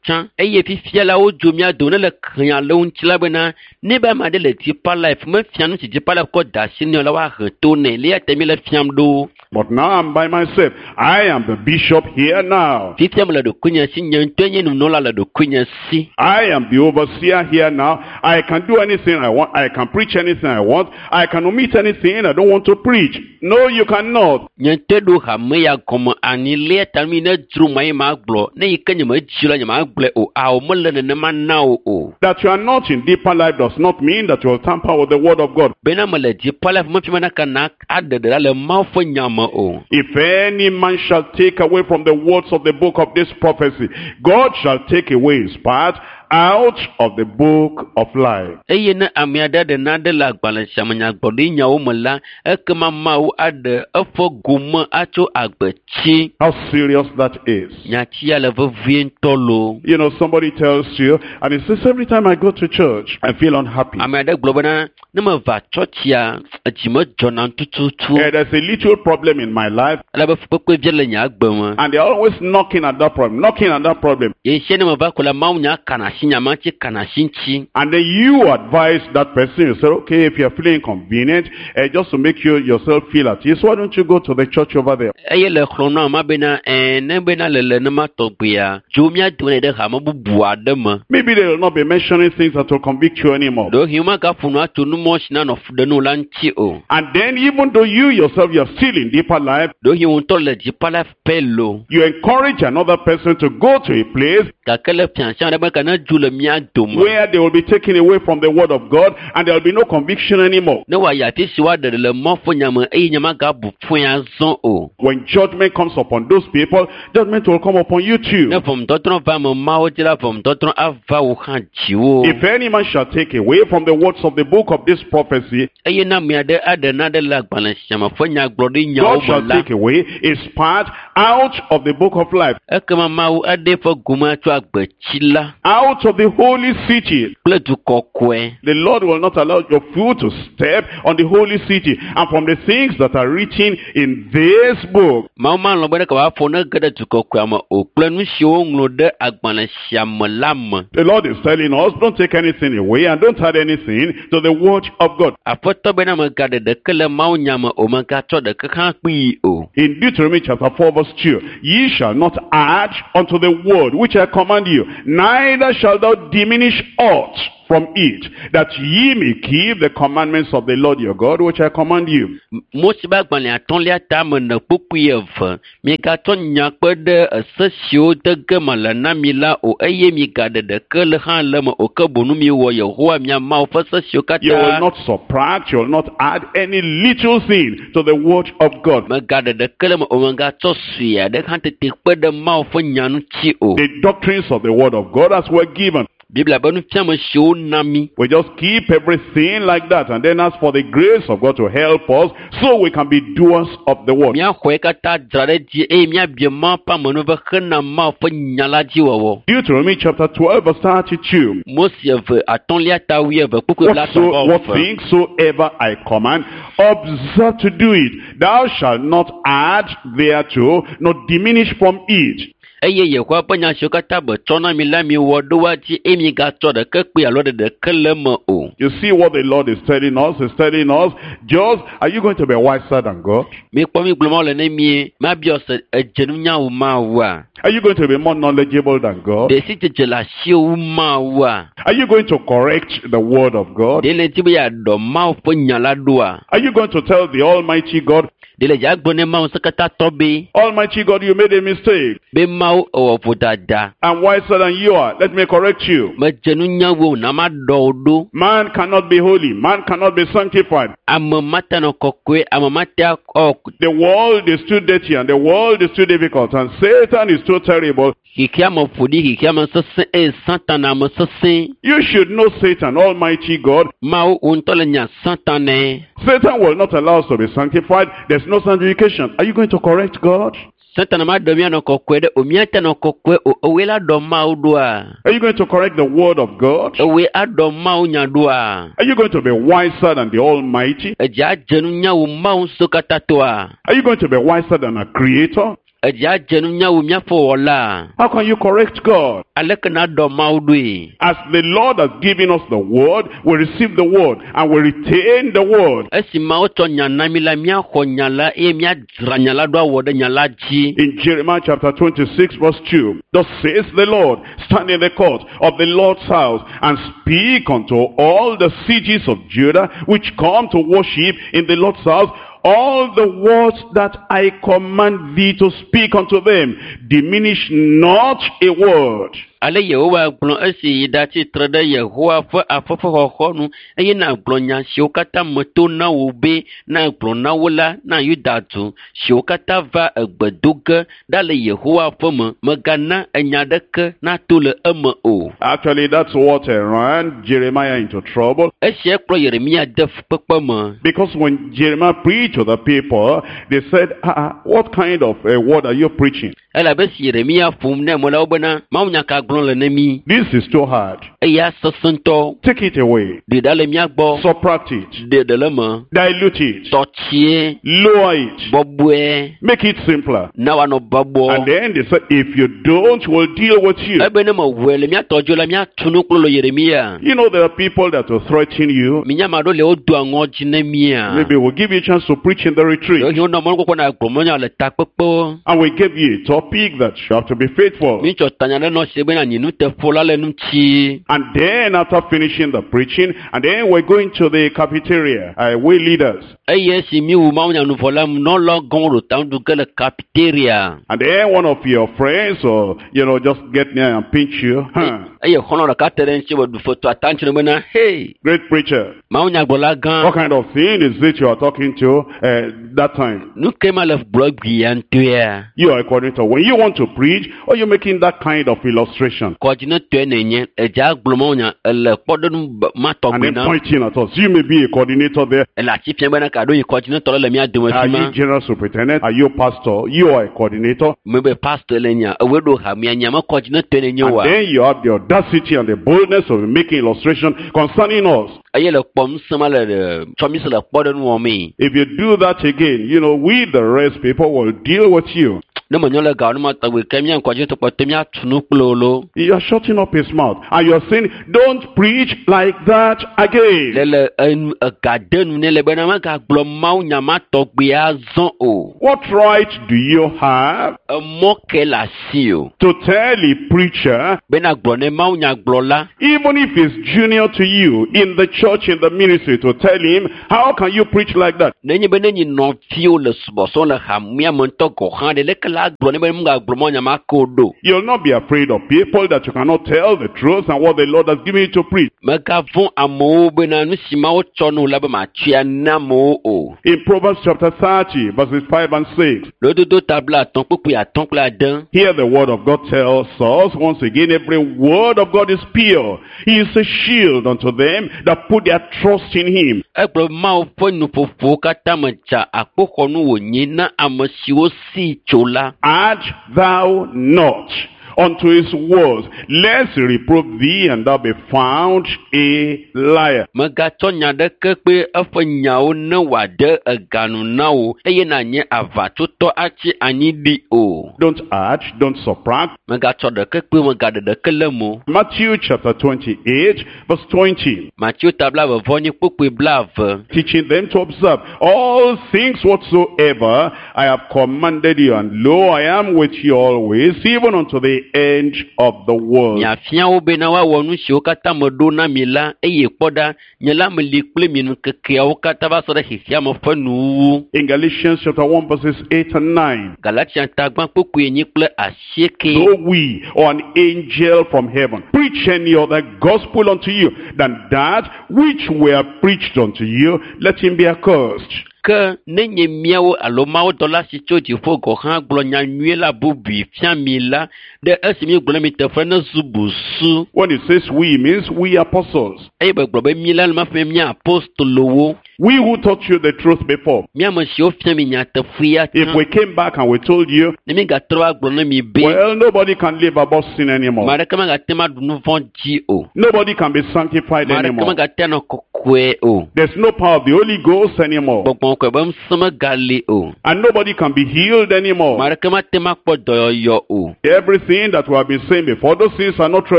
tsã eye fifia la wodzo mía dome ne le xlẽa le wo ŋuti la bena ne be ame aɖe le Deeper Life mefia nu si Deeper Life kɔ da asi nɛ o la woahe to nɛ le eya ta mi le fiam ɖo. But now I'm by myself. I am the bishop here now. Fifia mele ɖokuinye si nye ŋutɔe nye nunɔla le ɖokuinye si. I am the overseer here now. I can do anything I want. I can preach anything I want. I can omit anything I don't want to preach. No, you cannot. Nye ŋutɔe ɖo hame ya gɔme anyi le eya ta nu yi ne dzro ma ye magblɔ ne yi ke nyemedzi o la nyemagblɔe o. Ao mele nenema na wo o. That you are not in Deeper Life does not mean that you will tamper with the word of God. Bena mele Deeper Life mefia bena kana aɖe ɖe ɖa le Mawu ƒe nya me o. If any man shall take away from the words of the book of this prophecy, God shall take away his part out of the book of life. Eye ne ame aɖe ɖe naɖe le agbalẽ sia me nyagblɔɖinyawo me la, ekema Mawu aɖe eƒe gome atso agbetsi. How serious that is. Nyati ya le vevie ŋutɔ loo. You know, somebody tells you, and he says, every time I go to church, I feel unhappy. Ame aɖe gblɔ bena ne meva tsɔtsia, edzi medzɔnam tututu. Eh, there's a little problem in my life, Elabe fukpekpe vi le nye agbe me. and they're always knocking at that problem, knocking at that problem. Ye sia ne meva ko la, Mawu nya kana asi nya ma ŋuti, kana asi ŋuti. And then you advise that person, you say, okay, if you're feeling inconvenient, eh, just to make you yourself feel at ease, why don't you go to the church over there? Eye le xlɔ̃ nu amea bena ɛɛ ne bena le le nema tɔgbea, dzo mía dome ɖe hame bubu aɖe me. Maybe they will not be mentioning things that will convict you anymore. Ɖewohĩ womagaƒo nu atso numɔ si nanɔ fu ɖe nu la ŋuti o. And then even though you yourself, you're still in Deeper Life, Ɖewohĩ wò ŋutɔ le Deeper Life pɛ loo. you encourage another person to go to a place Gake le fiasia ɖe be ke ne nedzo le mía dome. Where they will be taken away from the word of God and there will be no conviction anymore. Ne wòayi afi si woaɖe le Mawu ƒe nya me eye nya magabu fɔe azɔ o. When judgment comes upon those people, judgment will come upon you Ne too. ʋɔnudɔdrɔ̃ va ame mawo dzi la, ʋɔnudɔdrɔ̃ ava wò hã dziwò. If any man shall take away from the words of the book of this prophecy, Eye ne ame aɖe aɖe naɖe le agbalẽ sia me ƒe nyagblɔɖinyawo God me shall la, take away his part out of the book of life, ekema Mawu aɖe eƒe gome tso agbetsi la out of the holy city. kple du kɔkɔe. The Lord will not allow your foot to step on the holy city and from the things that are written in this book. Mawu malɔ̃ be ɖeke wòafɔ ne ge ɖe du kɔkɔea me o kple nu siwo woŋlɔ ɖe agbalẽ sia me la me. The Lord is telling us, don't take anything away and don't add anything to the word of God. Aƒetɔ bena megaɖe ɖeke le Mawu nya me o, megatsɔ ɖeke hã kpee o. In Deuteronomy chapter four verse two, ye shall not add unto the word which I command you, neither shalt thou diminish aught from it, that ye may keep the commandments of the Lord your God which I command you. Mose ƒe agbalẽ atɔ̃lia tame ne kpukpui eve. Migatsɔ nya kpe ɖe ese siwo de ge mele na mi la o eye migaɖe ɖeke le hã le eme o ke boŋ miwɔ Yehowa mia Mawu ƒe se siwo You will katã not subtract, you will not add any little thing to the word of God. megaɖe ɖeke le eme o megatsɔ sue aɖe hã tete kpe ɖe Mawu ƒe nya ŋuti o. The doctrines of the word of God as were given. Biblia ƒe nufiame siwo na mí. We just keep everything like that and then ask for the grace of God to help us so we can be doers of the word. Míaxɔe katã dzra ɖe dzi eye míabia Mawu ƒe amenuveve hena Mawu ƒe nya la dzi wɔwɔ. Deuteronomy chapter twelve verse thirty-two. Mose eve atɔ̃lia ta wuieve kpukpui Whatso, blaetɔ̃ what vɔ eve. things soever I command, observe to do it. Thou shalt not add thereto, nor diminish from it. Eye Yehowa ƒe nya siwo katã betsɔ na mi la miwɔ ɖo woa dzi eye migatsɔ ɖeke kpee alo ɖe ɖeke le eme o. You see what the Lord is telling us? He's telling us, just, are you going to be wiser than God? Mikpɔ mi gblɔ Mawu le ne mie, mabiɔ se edze nunya wu Mawua? Are you going to be more knowledgeable than God? Ɖe si dzedze le asiwò wu Mawua? Are you going to correct the word of God? Ɖe le di be yeaɖɔ Mawu ƒe nya la ɖoa? Are you going to tell the Almighty God, Ɖe le dza gblɔ ne Mawu ŋusẽkatãtɔ be, Almighty God, you made a mistake. be Mawu ewɔ vodada. I'm wiser than you are. Let me correct you. Medze nunya wu wò na maɖɔ wò ɖo. Man cannot be holy. Man cannot be sanctified. Ame mate nɔ kɔkɔe, ame mate akɔ The world is too dirty and the world is too difficult and Satan is too terrible. xexea me ƒo ɖi, xexea me sesẽ eye Satana me sesẽ. You should know Satan, Almighty God. Mawu wò ŋutɔ le nya Satanae. Satan will not allow us to be sanctified. There's no sanctification. Are you going to correct God? Satana maɖe mía nɔ kɔkɔe ɖe o, míate nɔ kɔkɔe o. Ewoe la ɖɔ Mawu ɖoa? Are you going to correct the word of God? Ewoe aɖɔ Mawu nya ɖoa? Are you going to be wiser than the Almighty? Edze adze nunya wu Mawu ŋusẽkatãtɔa? Are you going to be wiser than a creator? Edze adze nunya wu míaƒe wɔla? How can you correct God? Aleke naɖɔ Mawu ɖoe? As the Lord has given us the word, we receive the word and we retain the word. Esi Mawu tsɔ nya na mí la, míaxɔ nya la eye míadzra nya la ɖo awɔ ɖe nya la dzi. In Jeremiah chapter twenty-six verse two, thus says the Lord, stand in the court of the Lord's house and speak unto all the cities of Judah which come to worship in the Lord's house, all the words that I command thee to speak unto them. Diminish not a word. Ale Yehowa gblɔ esi yi ɖatsi tre ɖe Yehowa ƒe aƒe ƒe xɔxɔnu eye nàgblɔ nya siwo katã meto na wò be nàgblɔ na wo la na Yuda du siwo katã va egbe do ge ɖa le Yehowa ƒe me. Mègana enya ɖeke nato le eme o. Actually, that's what ran Jeremiah into trouble. Esia kplɔ Yeremia de fukpekpe me. Because when Jeremiah preached to the people, they said, ah, what kind of a word are you preaching? Elabe esi Yeremia ƒom ne ame la wo bena Mawu nya ka gblɔm le ne mí. This is too hard. Eya sesẽ ŋutɔ. Take it away. Ɖe ɖa le mía gbɔ. Subtract it. Ɖe ɖe le eme. Dilute it. Tɔtsie. Lower it. Bɔbɔe. Make it simpler. Na wòanɔ bɔbɔ. And then they said, if you don't, we'll deal with you. Ebe ne mewɔe le mía tɔ dzo la, míatu nu kple lo Yeremia. You know, there are people that will threaten you. Minya ame aɖewo le wodoa ŋɔdzi ne mía. Maybe we'll give you a chance to preach in the retreat. Ɖewohĩ wonɔ mɔnukpɔkpɔ na gblɔ mɔnya le takpekpewo. And we give you a topic that you have to be faithful. Mítsɔ tanya ɖe nɔ si be nanyi nuteƒola le ŋuti. And then after finishing the preaching, and then we're going to the cafeteria, uh, we leaders. Eye esi míwu mawunyanuvɔ la, nunɔlawo gɔ̃ ɖo ta nuɖu ge le cafeteria. And then one of your friends or, you know, just get near and pinch you. Huh. Eye xɔlɔ̃ ɖeka te ɖe ŋuti wòɖu foto ata ŋuti bena, hei, Great preacher. mawunyagblɔla gã, What kind of thing is it you are talking to uh, that time? nu ke ma le gblɔ gbia ŋutɔea? You are a coordinator. When you want to preach, or you making that kind of illustration Kɔdzinetɔe nènye, edze agblɔ mawunya, ele kpɔɖeŋu b- ma and tɔgbi then na. pointing at us. You may be a coordinator there. Ele ati fia bena ka ɖo yi kɔdzinetɔ ɖe le mía dome Are fi ma. you general superintendent? Are you pastor? You are a coordinator. Mebe pastor le nya, ewoe ɖo hamea nya me kɔdzinetɔe nenye And oa? then you have the audacity and the boldness of making illustration concerning us. Eye le kpɔ ŋusẽ ma le eh, tsɔ mí se le kpɔɖeŋu wɔmee. If you do that again, you know, we the rest people will deal with you. Ne menyo le gawo ne ma tɔgbi ke mía kɔdzinetɔ kpɔtɔ míatu nu kple wo lo. You are shutting up his mouth and you are saying, don't preach like that again. Le le enu ega de nu nɛ le bena megagblɔ mawunya ma tɔgbi azɔ o. What right do you have Emɔ ke le asi o. to tell a preacher, Bena gblɔ ne mawunyagblɔla even if he's junior to you in the church, in the ministry, to tell him, how can you preach like that? nenye be nenyi nɔviwo le subɔsubɔm le hamea me ŋutɔ gɔ̃ hã ɖe leke la gblɔ ne be megagblɔ mawunya ma ke o ɖo. You'll not be afraid of people that you cannot tell the truth and what the Lord has given you to preach. Megavɔ̃ amewo bena nu si Mawu tsɔ na wò la be matsɔe ana amewo o. In Proverbs chapter thirty, verses five and six, Lododo ta blaatɔ̃ kpukpui atɔ̃ kple ade. here the word of God tells us, once again, every word of God is pure. He is a shield unto them that put their trust in him. Egblɔ be Mawu ƒe nuƒoƒowo katã me dza akpoxɔnu wònye na ame siwo sii tso la. Add thou not unto his words, lest he reprove thee and thou be found a liar. Megatsɔ nya ɖeke kple eƒe nyawo ne wòade eganu na wò eye nànye aʋatsotɔ atsi anyi ɖi o. Don't add, don't subtract. Megatsɔ ɖeke kple megaɖe ɖeke le eme o. Matthew chapter twenty-eight, verse twenty. Mateo ta blaeve vɔ enyi kpukpui blaeve. Teaching them to observe all things whatsoever I have commanded you, and lo, I am with you always, even unto the end of the world. Miafia wo bena woawɔ nu siwo katã meɖo na mi la eye kpɔ ɖa, nye la meli kple mi ŋkekeawo katã va se ɖe xexea me ƒe nuwuwu. In Galatians chapter one, verses eight and nine. Galatia ta gbã kpukpui enyi kple asieke. Though we or an angel from heaven preach any other gospel unto you than that which we have preached unto you, let him be accursed. Ke nenye míawo alo mawudɔla si tso dziƒo gɔ̃ hã gblɔ nya nyui la bubui fia mi la, ɖe esi míegblɔ na mi teƒe ne zu busu. When it says we, it means we apostles. Eye begblɔ be mí la le maƒe mía apostolowo, We who taught you the truth before. mía ame siwo fia mi nyateƒea If tsã. we came back and we told you, Ne mígatrɔ va gblɔ na mi be, well, nobody can live above sin ame anymore. aɖeke megate ŋu aɖu nu vɔ̃ dzi o. Nobody can be sanctified Ame aɖeke anymore. megate anɔ kɔkɔe o. There's no power of the Holy Ghost anymore. Gbɔgbɔ kɔkɔe be ŋusẽ megali o. And nobody can be healed Ame anymore. aɖeke mate ŋu akpɔ dɔyɔyɔ o. Everything that we have been saying before, those things are not true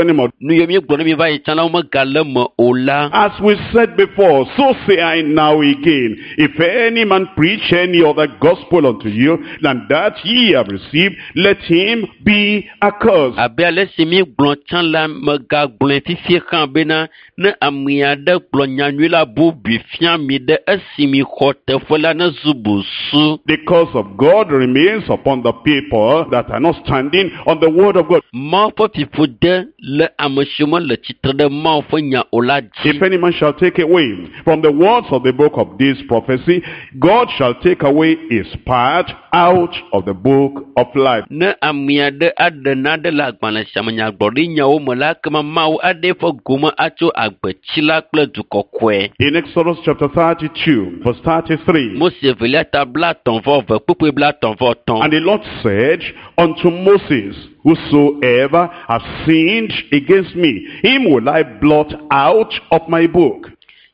anymore. Nu yiwo míegblɔ na mi va yi tsã la, womegale eme o la. As we said before, so say I now again, if any man preach any other gospel unto you than that ye have received, let him be accursed. Abe ale si míegblɔ tsã la, megagblɔe fifia hã bena ne ame aɖe gblɔ nyanyui la bubui fia mi ɖe esi mixɔ teƒe la nezu busu. The curse of God remains upon the people that are not standing on the word of God. Mawu ƒe fiƒode le ame siwo mele tsitre ɖe Mawu ƒe nya o la dzi. If any man shall take away from the words of the book of this prophecy, God shall take away his part out of the book of life. Ne ame aɖe aɖe naɖe le agbalẽ sia me nyagblɔɖinyawo me la, ekema Mawu aɖe eƒe gome atso agbetsi la kple du kɔkɔe. In Exodus chapter thirty-two, verse thirty-three, Mose evelia ta blaetɔ̃ vɔ eve kpukpui blaetɔ̃ vɔ etɔ̃. And the Lord said unto Moses, Whosoever hath sinned against me, him will I blot out of my book.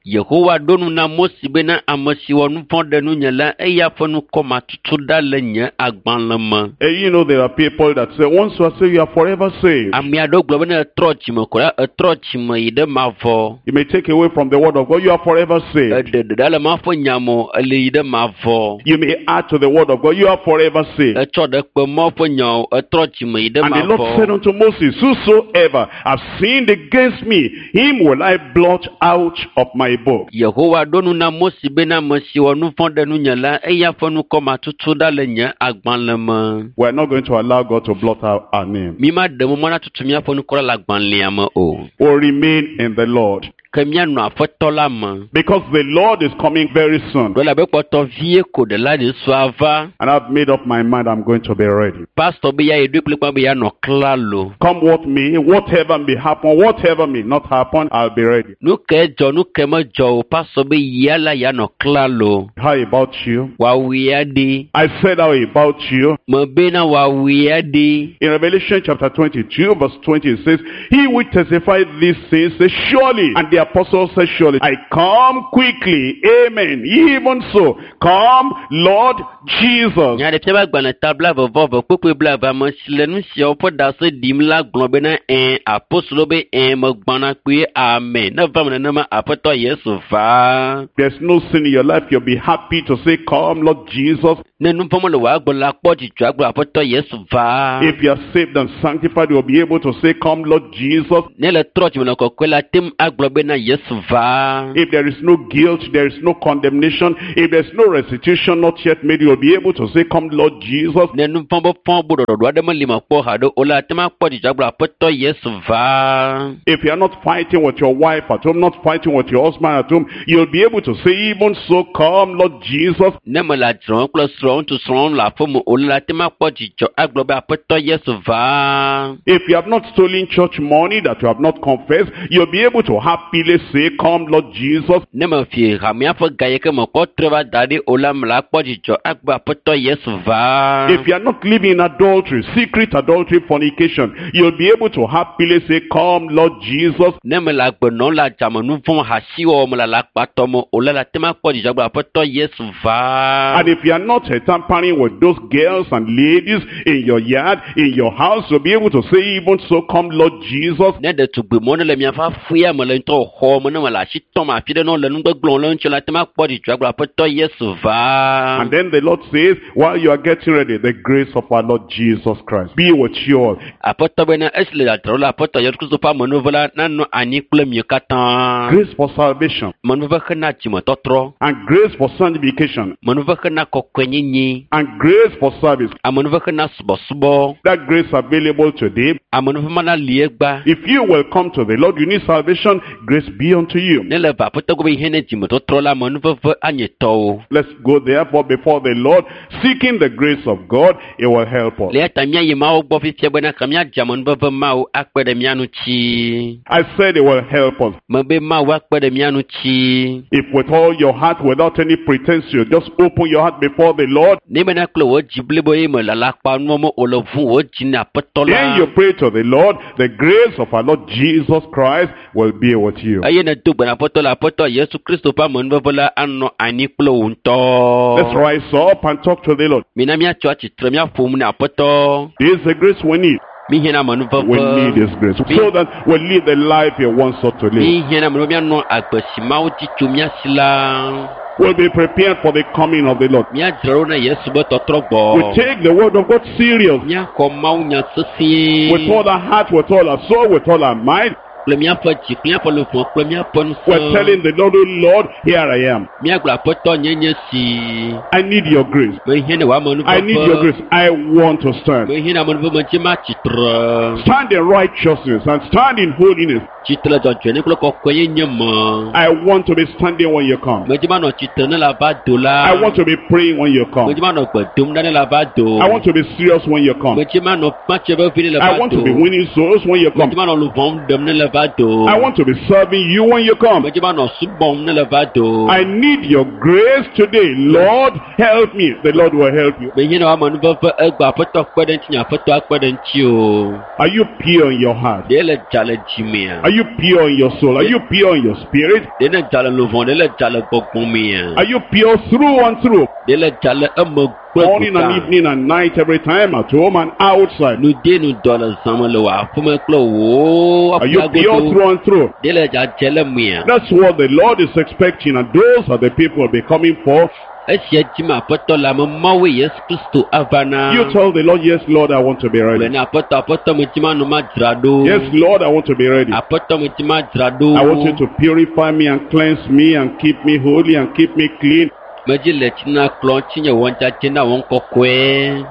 Yehowa ɖo nu na Mose bena ame si wɔ nu vɔ̃ ɖe nunye la eya ƒe ŋkɔ matutu ɖa le nye agbalẽ me. Eh, you know, there are people that say, once you are saved, you are forever saved. Ame aɖewo gblɔ bena etrɔ dzime ko la etrɔ dzime yi ɖe mavɔ. You may take away from the word of God, you are forever saved. Eɖe ɖeɖe le Mawu ƒe nya me o, ele yi ɖe mavɔ. You may add to the word of God, you are forever saved. Etsɔ ɖe kpe Mawu ƒe nya o, etrɔ dzime yi ɖe And the Lord said mavɔ. unto Moses, Whosoever have sinned against me, him will I blot out of my book. Yehowa ɖo nu na Mose bena ame si wɔ nu vɔ̃ ɖe nunye la eya ƒe ŋkɔ matutu ɖa le nye agbalẽ me. We are not going to allow God to blot out our name. Mi ma ɖe mɔ na tutu míaƒe ŋkɔ ɖa le agbalẽa me o. We'll remain in the Lord. Ke míanɔ aƒetɔ la me. Because the Lord is coming very soon. Ɖo elabe kpɔtɔ vie ko ɖela Yesu ava. And I've made up my mind I'm going to be ready. Pastor be ya yi ɖoe kplikpa be yeanɔ klalo. Come what may, whatever may happen, whatever may not happen, I'll be ready. Nu ke dzɔ, nu ke medzɔ o, pastor be yia la yeanɔ klalo. How about you? Wòawui aɖi. I said how about you? Mebe na wòawui aɖi. In Revelation chapter twenty-two, verse twenty, it says, He which testified these things says, Surely, and the apostle says, Surely, I come quickly. Amen. Even so, come, Lord Jesus. Nyaɖeƒe ƒe agbalẽ ta blaeve vɔ eve kpukpui blaeve ame si le nu siawo ƒe ɖase ɖim la gblɔ bena ɛ̃ apostolo be ɛ̃ megbɔna kpuie amen. Ne va me nenema aƒetɔ Yesu va. There's no sin in your life. You'll be happy to say, Come, Lord Jesus. Ne nu vɔ̃ mele wò agbe la kpɔ dzidzɔ agblɔ aƒetɔ Yesu va. If you are saved and sanctified, you'll be able to say, Come, Lord Jesus. Ne le trɔ dzime le kɔkɔe la te ŋu agblɔ bena Yesu va. If there is no guilt, there is no condemnation, if there's no restitution not yet made, you'll be able to say, Come, Lord Jesus. Ne nu vɔ̃ be fɔ bu ɖɔɖɔɖo aɖe meli me kpɔ haɖe o la te ŋu akpɔ dzidzɔ agblɔ aƒetɔ Yesu va. If you are not fighting with your wife at home, not fighting with your husband at home, you'll be able to say, Even so, come, Lord Jesus. Ne mele adzrɔm kple srɔ̃ ŋutsu srɔ̃ le aƒeme o la te ŋu akpɔ dzidzɔ agblɔ be aƒetɔ Yesu va. If you have not stolen church money that you have not confessed, you'll be able to happily say, Come, Lord Jesus. Ne mefi hamea ƒe ga yi ke mekpɔ trɔe va da ɖi o la me la akpɔ dzidzɔ agblɔ aƒetɔ Yesu va. If you are not living in adultery, secret adultery, fornication, you'll be able to happily say, Come, Lord Jesus. Ne mele agbe nɔm le adzame nu vɔ̃ hasiwɔwɔ me le alakpatɔ me o la la te ŋu akpɔ dzidzɔ agblɔ aƒetɔ Yesu va. And if you are not uh, tampering with those girls and ladies in your yard, in your house, you'll be able to say, Even so, come, Lord Jesus. Ne ɖetugbi mɔ ne le miaƒe aƒea me le ŋutɔ xɔ me ne me le asi tɔm afi ɖe ne wole nu gbegblẽ le ŋuti la te ŋu akpɔ dzidzɔ agblɔ aƒetɔ Yesu va. And then the Lord says, while you are getting ready, the grace of our Lord Jesus Christ be with you all. Aƒetɔ bena esi le dzadzraɖo la aƒetɔ Yesu Kristo ƒe amenuveve la nanɔ anyi kple mi katã. Grace for salvation Amenuveve hena dzimetɔtrɔ. and grace for sanctification Amenuveve hena kɔkɔenyenye. and grace for service. Amenuveve hena subɔsubɔ. That grace available today. Amenuveve mana li egba. If you will come to the Lord, you need salvation, grace be unto you. Ne le va aƒetɔ gbɔ be hiã ne dzimetɔtrɔ la amenuveve anye tɔwò. Let's go therefore before the Lord, seeking the grace of God, it will help us. Le eya ta míayi Mawu gbɔ fifia bena ka míadze amenuveve Mawu akpe ɖe mía ŋuti. I said it will help us. Mebe Mawu akpe ɖe mía ŋuti. If with all your heart, without any pretense, you just open your heart before the Lord, Ne bena kple wò dzi blibo ye me le alakpanuwo me o le ʋu wò dzi na aƒetɔ then la. you pray to the Lord, the grace of our Lord Jesus Christ will be with you. Eye nèdo gbe na aƒetɔ la aƒetɔ Yesu Kristo ƒe amenuveve la anɔ anyi kple wò Let's ŋutɔ. rise up and talk to the Lord. Mina míatso atsitre míaƒo nu na aƒetɔ. This is the grace we need. Míhiã na We need amenuveve. His grace so that we live the life He wants us to live. Míhiã na amenuveve míanɔ agbe si Mawu di tso mía si la. We'll be prepared for the coming of the Lord. Míadzra ɖo na Yesu be tɔtrɔ gbɔ. We take the word of God serious Míaxɔ Mawu nya sesĩe. with all our heart, with all our soul, with all our mind. Kple míaƒe dzi, kple míaƒe luʋɔ, kple míaƒe We're ŋusẽ. telling the Lord, oh Lord, here I am. Míagblɔ aƒetɔ nye nye si. I need your grace. Mehiã ne wò I need your amenuveve. grace. I want to stand. Mehiã ne amenuveve medzi matsi tre. Stand in righteousness and stand in holiness. Tsitre dzɔdzɔenye kple kɔkɔenyenye me. I want to be standing when you come. Medzi manɔ tsitre ne le ava do la. I want to be praying when you come. Medzi manɔ gbe dom ɖa ne le ava do. I want to be serious when you come. Medzi manɔ matse vevi ne le I va want to do. be winning souls when you come. Medzi manɔ luʋɔm ɖem ne le va do. I want to be serving you when you come. Medzi be manɔ subɔm ne le va do. I need your grace today. Lord, help me. The Lord will help you. Menye na woame nuveve egbe aƒetɔ kpe ɖe ŋutinye aƒetɔ akpe ɖe ŋuti o. Are you pure in your heart? Ɖe le dza le dzimea? Are you pure in your soul? Are you pure in your spirit? Ɖe ne dza le luʋɔ? Ɖe le dza le gbɔgbɔ mea? Are you pure through and through? Ɖe le dza le eme kple Morning and gota? evening and night, every time, at home and outside. Nu de nu dɔ le zãme le wò aƒeme kple wò Are you pure aƒeagodo. through and through? Ɖe le dzadze le mea? That's what the Lord is expecting, and those are the people will be coming for. Esia dzim aƒetɔ le ame mawoe Yesu Kristo ava na. You tell the Lord, yes, Lord, I want to be Gblɔ ready. na aƒetɔ aƒetɔ medzi manɔ madzra ɖo. Yes, Lord, I want to be ready. Aƒetɔ medzi madzra ɖo. I want you to purify me and cleanse me and keep me holy and keep me clean, Medzi le tsi na klɔ ŋutinye wɔ dzadze na wɔ kɔkɔe.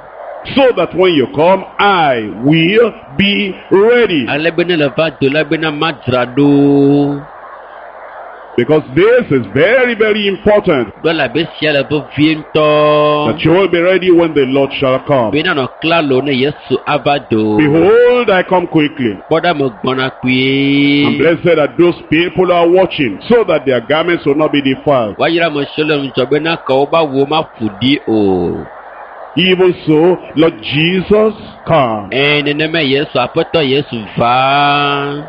so that when you come, I will be ready. Ale be ne le va do la bena madzra ɖo. Because this is very, very important, Ɖo elabe sia le vevie ŋutɔ. that you will be ready when the Lord shall come. Bena nɔ klalo ne Yesu ava do. Behold, I come quickly. Kpɔ ɖa megbɔna And kpuie. blessed are those people who are watching, so that their garments will not be defiled. Woayra ame siwo le ŋudzɔ bena ke woƒe awuwo maƒo ɖi o. Even so, Lord Jesus, come. Ẽ nenema Yesu aƒetɔ Yesu va.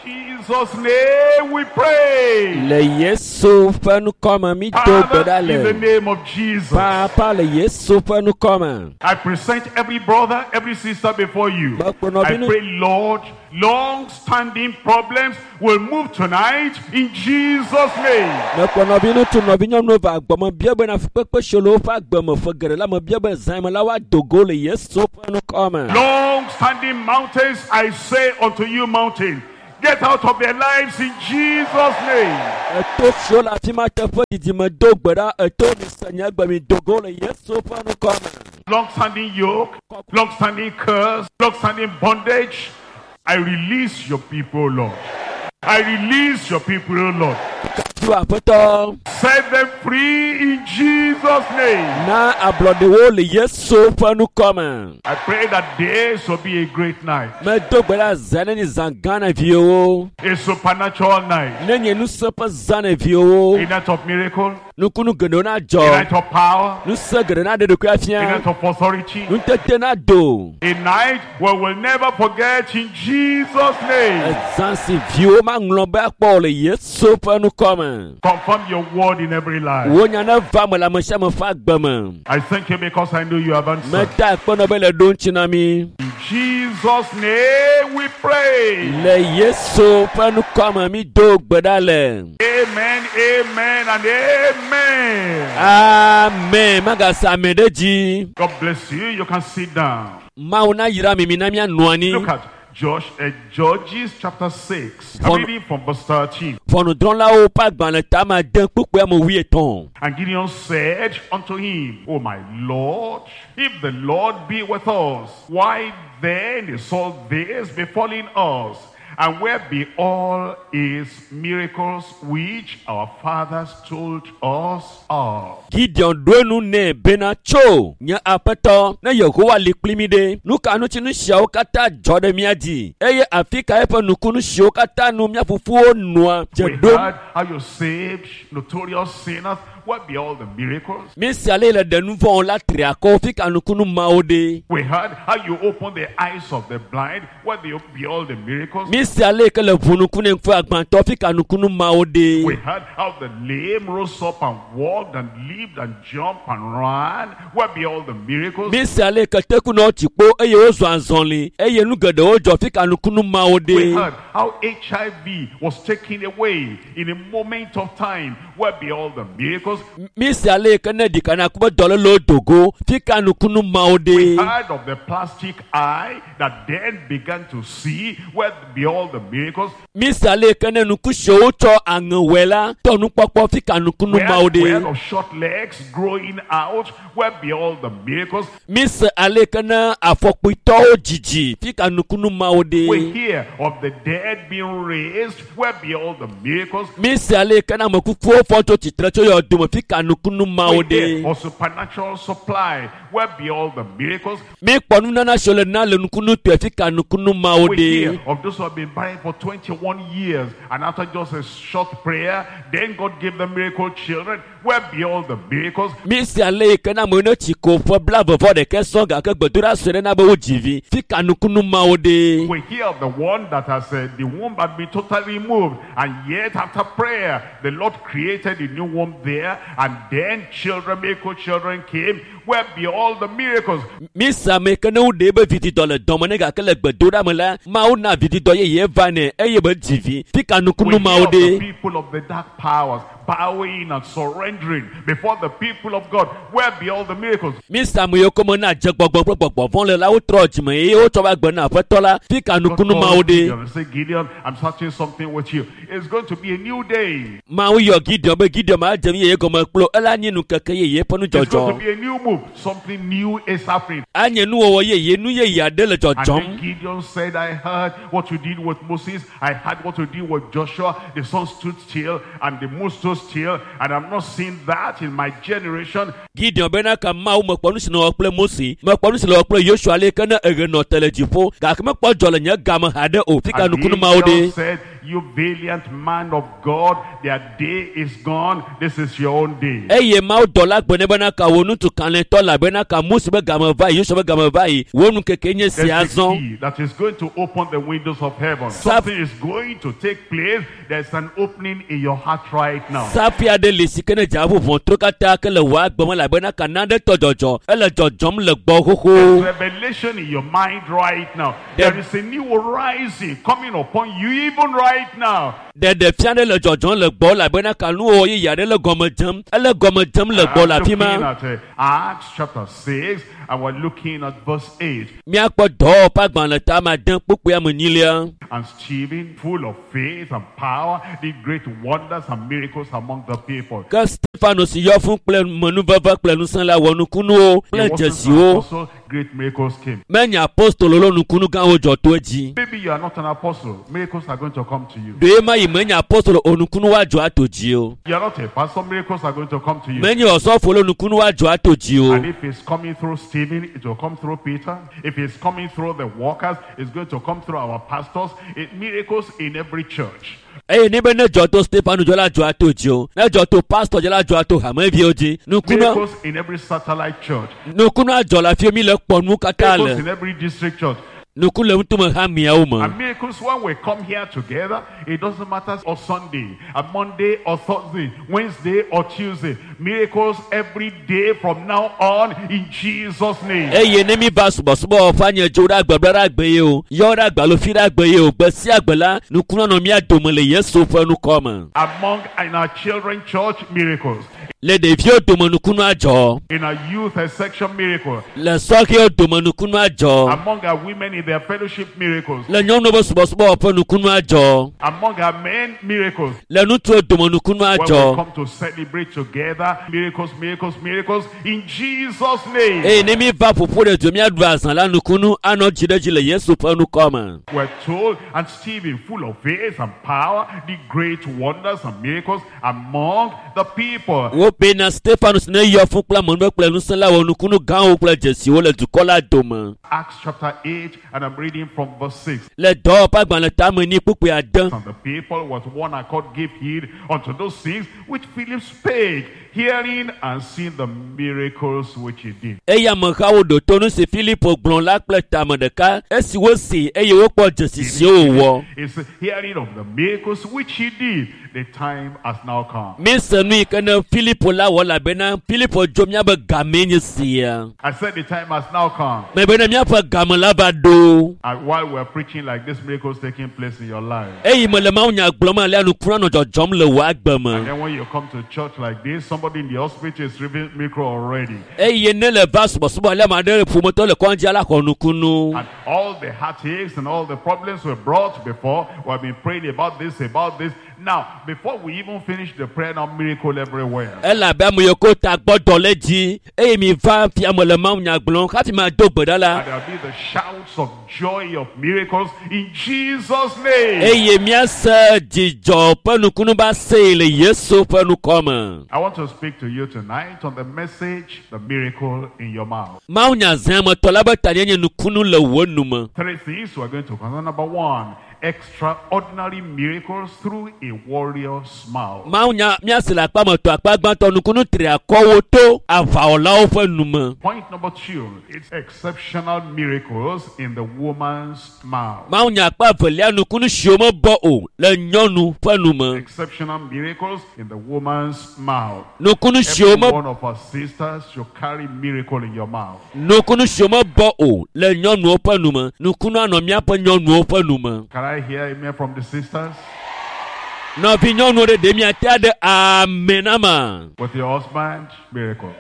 In Jesus' name we pray. Le Yesu ƒe ŋkɔme mi do gbe Father, ɖa in the le. name of Jesus, Papa le Yesu ƒe ŋkɔme. I present every brother, every sister before you. Mekplɔ I nɔvi nu- pray, Lord, long-standing problems will move tonight in Jesus' name. Mekplɔ nɔvi ŋutsu nɔvi nyɔnuwo va agbɔme bia bena fukpekpe siwo le woƒe agbe me ƒe geɖe la me bia be zã me la woado go le Yesu ƒe ŋkɔme. Long-standing mountains, I say unto you, mountain, get out of their lives in Jesus' name. Eto siwo le afi ma teƒe didi me do gbe ɖa eto mi se nye gbe mi do go le Yesu ƒe ŋkɔme. Long-standing yoke, long-standing curse, long-standing bondage. I release your people, Lord. I release your people, Lord. Kafu aƒetɔ Set them free in Jesus' name. na ablɔɖewo le Yesu ƒe ŋkɔme. I pray that this will be a great night, Medo gbe ɖa zã ne nye zã gã na viwo. a supernatural night, Ne nye ŋusẽ ƒe zã na viwo. a night of miracle, Nukunu geɖewo a nadzɔ. night of power, Ŋusẽ geɖe naɖe ɖokui a afia. night of authority, Nutete nado. a night we will never forget in Jesus' name. Ezã si viwo maŋlɔ be akpɔ o le Yesu ƒe ŋkɔme. Confirm your word in every life. Wo nya neva me le ame sia ame ƒe agbe me. I thank you because I know you have answered. Meda akpe nɔ be le ɖo ŋuti na mi. In Jesus' name we pray. Le Yesu ƒe ŋkɔme mi do gbe ɖa le. Amen, amen, and amen. Amen. Magasa ame ɖe dzi. God bless you. You can sit down. Mawu na yra mi mi na mianɔ anyi. Look at Josh, uh, Judges chapter six. I'm Von- reading from verse thirteen. Ʋɔnudrɔ̃lawo ƒe agbalẽ tame ade kpukpui ame wuietɔ̃. And Gideon said unto him, O my Lord, if the Lord be with us, why then is all this befalling us? And where be all his miracles which our fathers told us of? Gideon ɖo enu nɛ bena tso nye aƒetɔ ne Yehowa li kpli mi ɖe nu ka ŋuti nu siawo katã dzɔ ɖe mía dzi eye afi ka eƒe nukunu siwo katã nu mía fofowo nɔa dze We ɖom. heard how you saved notorious sinners. Where be all the miracles? Mi sia ale le ɖe nu vɔ̃wo la tri akɔ fi ka nukunu mawo ɖe. We heard how you opened the eyes of the blind. Where be be all the miracles? Mi sia ale yi ke le ʋu nuku ne ŋku agbãtɔ fi ka nukunu mawo We ɖe. heard how the lame rose up and walked and leaped and jumped and ran. Where be all the miracles? Mi sia ale yi ke tekunɔwo tsi kpo eye wozɔ azɔli eye nu geɖewo dzɔ fi ka nukunu mawo We ɖe. heard how H I V was taken away in a moment of time. Where be all the miracles? Mi sia ale yi ke ne ɖika na ku be dɔlélewo dogo fi ka nukunu mawo We ɖe. heard of the plastic eye that then began to see. Where be all all the miracles? Misa le ke ne nuku siwo wotsɔ aŋe wɔe la tɔ nukpɔkpɔ fi ka nukunu Where, mawo where ɖe. of short legs growing out? Where be all the miracles? Mise ale ke ne afɔkpuitɔwo dzidzi fi ka nukunu mawo We ɖe. hear of the dead being raised. Where be all the miracles? Mise ale ke ne ame kukuwo fɔ tso tsitre tso yɔdome fi ka nukunu mawo We hear ɖe. of supernatural supply. Where be all the miracles? Mikpɔ nunana siwo le na le nukunu tɔe fi ka nukunu mawo We ɖe. hear of those who have been barren for twenty-one years, and after just a short prayer, then God gave them miracle children. Where be all the miracles? Mise ale yi ke ne amewo ne tsi ko ƒe blaeve vɔ ɖekɛ sɔŋ gake gbedoɖa sue ɖe na be wodzi vi fi ka nukunu mawo ɖe. We hear of the one that has uh, the womb had been totally removed, and yet after prayer, the Lord created a new womb there, and then children, miracle children came. Where be all the miracles? Mise ame yi ke ne woɖe ebe vididɔ le dɔme ne gake le gbedoɖa me la, Mawu na vididɔ yeye va nɛ eye be dzi vi fi ka We nukunu hear mawo of the ɖe. people of the dark powers bowing and surrendering before the people of God. Where be all the miracles? Mise ame yiwo ke me na dze gbɔgbɔ kple gbɔgbɔ vɔ̃ le la wotrɔ dzime eye wotsɔ va gbe na aƒetɔ la fi ka God nukunu called mawo ɖe. Gideon and said, Gideon, I'm starting something with you. It's going to be a new day. Mawu yɔ Gideon be Gideon ma dze nu yeye gɔme kplo ela nye nukeke yeye ƒe It's going to nudzɔdzɔ. be a new move. Something new is happening. Anye nuwɔwɔ yeye nu yeye aɖe le And then dzɔdzɔm. Gideon said, I heard what you did with Moses. I heard what you did with Joshua. The sun stood still and the moon stood still. And I'm not seeing that in my generation. Gideon bena ka Mawu mekpɔ nu si nɔ wɔ kple Mose, mekpɔ nu si le wɔ kple Yosua le ke ne eɣe nɔ te le dziƒo gake mekpɔ dzɔ le nye game haɖe o fi ka And the nukunu mawo angel ɖe. said, You valiant man of God, their day is gone. This is your own day. Eye Mawu dɔla gblɔ nɛ bena ka wò ŋutsu kalẽtɔ la bena ka Mose be game va yi, Yosua be game va yi, wò nukeke nye There's sia a zɔ. key that is going to open the windows of heaven. Saf- Something is going to take place. There's an opening in your heart right now. Safi aɖe li si ke ne dze ʋɔtru katã ke le wò agbe me elabena ka nane tɔ dzɔdzɔ, ele dzɔdzɔm le gbɔ xoxo. There's revelation in your mind right now. There- There is a new horizon coming upon you even right now. Ɖeɖefia ɖe le dzɔdzɔm le gbɔ elabena ka nuwɔwɔ yeye aɖe le gɔme dzem, ele gɔme dzem le gbɔ I'm le afi looking ma. at uh, Acts chapter six, and we're looking at verse eight. Míakpɔ dɔwɔƒe agbalẽ ta ame ade kpukpui ame enyilia. And Stephen, full of faith and power, did great wonders and miracles among the people. Ke Stefano si yɔ fũ kple menuveve kple ŋusẽ la wɔ nukunuwo He kple wasn't an dzesiwo. apostle, great miracles came. Menye apostolo lo nukunu gãwo dzɔ to edzi. Maybe you are not an apostle. Miracles are going to come to you. Ɖe ma yi menye apostolo o nukunu woadzɔ ato dzi o. You are not a pastor. Miracles are going to come to you. Menye osɔfo lo nukunu woadzɔ ato dzi o. And if it's coming through Stephen, it will come through Peter. If it's coming through the workers, it's going to come through our pastors. It, miracles in every church. Eye ne be ne dzɔ to Stefano dzɔ la dzɔ ato dzi o. Ne dzɔ to pastor dzɔ la dzɔ ato hameviwo dzi. Nukunu Miracles in every satellite church. nukunu adzɔ le afi mi le kpɔ nu katã Miracles le. in every district church. Nuku le ŋutume hameawo me. And miracles, when we come here together, it doesn't matter or Sunday, a Monday or Thursday, Wednesday or Tuesday. Miracles every day from now on in Jesus' name. Eye ne mi va subɔsubɔ wɔƒe anye dzo ɖe agbe bla ɖe agbe ye o, yɔ ɖe agbe alo fi ɖe agbe ye o, gbe sia gbe la, nukunu anɔ mía dome le Yesu ƒe nukɔ me. Among in our children church, miracles. Le ɖeviwo dome nukunu adzɔ, In our youth section, miracles. le sɔhɛwo dome nukunu adzɔ, Among our women in their fellowship, miracles. le nyɔnuwo ƒe subɔsubɔ wɔƒe nukunu adzɔ, Among our men, miracles. le ŋutsuwo dome nukunu When we adzɔ. come to celebrate together, miracles, miracles, miracles, in Jesus' name. Eye ne mi va ƒoƒo ɖe du míaɖu azã la nukunu anɔ dzi ɖe dzi le Yesu ƒe nukɔ me. We're told, and Stephen, full of faith and power, did great wonders and miracles among the people. Wobena Stefanus ne yɔ fũ kple amenuve kple ŋusẽ la wɔ nukunu gãwo kple dzesiwo le dukɔ la dome. Acts chapter eight, and I'm reading from verse six. Le dɔwɔƒe agbalẽ tame ni kpukpui ade. And the people with one accord gave heed unto those things which Philip spake, hearing and seeing the miracles which he did. Eye amehawo ɖo to nu si Filipo gblɔ la kple tame ɖeka esi wosi eye wokpɔ dzesi siwo wòwɔ. It's hearing of the miracles which he did. The time has now come. Mise nu yi ke ne Filipo la wɔ elabena Filipo dzo míabe gamee nye sia. I said the time has now come. Mebena míaƒe game la va ɖo. And while we're preaching like this, miracles taking place in your life. Eyi me le mawunya gblɔm alea nukunu anɔ dzɔdzɔm le wò agbe And me. then when you come to church like this, somebody somebody in the hospital is receiving miracle already. Eye ne le va subɔsubɔ ale ame aɖe ƒometɔ le kɔndzi ala xɔ nukunu. And all the heartaches and all the problems were brought before. We have been praying about this, about this. Now, before we even finish the prayer, now miracle everywhere. Elabe ame yiwo ko ta gbɔ dɔ le dzi eye mi va fiame le mawu nya gblɔm hafi ma do gbe ɖa la. And there'll be the shouts of joy of miracles in Jesus' name. Eye míase dzidzɔ ƒe nukunu ba see le Yesu ƒe nukɔme. I want to speak to you tonight on the message, the miracle in your mouth. Mawu nya zã me tɔ la be ta nye nukunu le wò nu me. Three things we're going to consider. Number one, extraordinary miracles through a warrior's mouth. Mawu nya míase le akpa me tɔ akpa gbãtɔ nukunu tri akɔwo to aʋawɔlawo ƒe nu me. Point number two, it's exceptional miracles in the woman's mouth. Mawu nya akpa evelia nukunu siwo mebɔ o le nyɔnu ƒe nu me. Exceptional miracles in the woman's mouth. Nukunu siwo Every me one of our sisters should carry miracle in your mouth. nukunu siwo mebɔ o le nyɔnuwo ƒe nu me. Nukunu anɔ míaƒe nyɔnuwo ƒe nu me. Can I hear amen from the sisters? Nɔvi nyɔnuwo ɖe ɖe miate aɖe amen na ma. With your husband, miracle.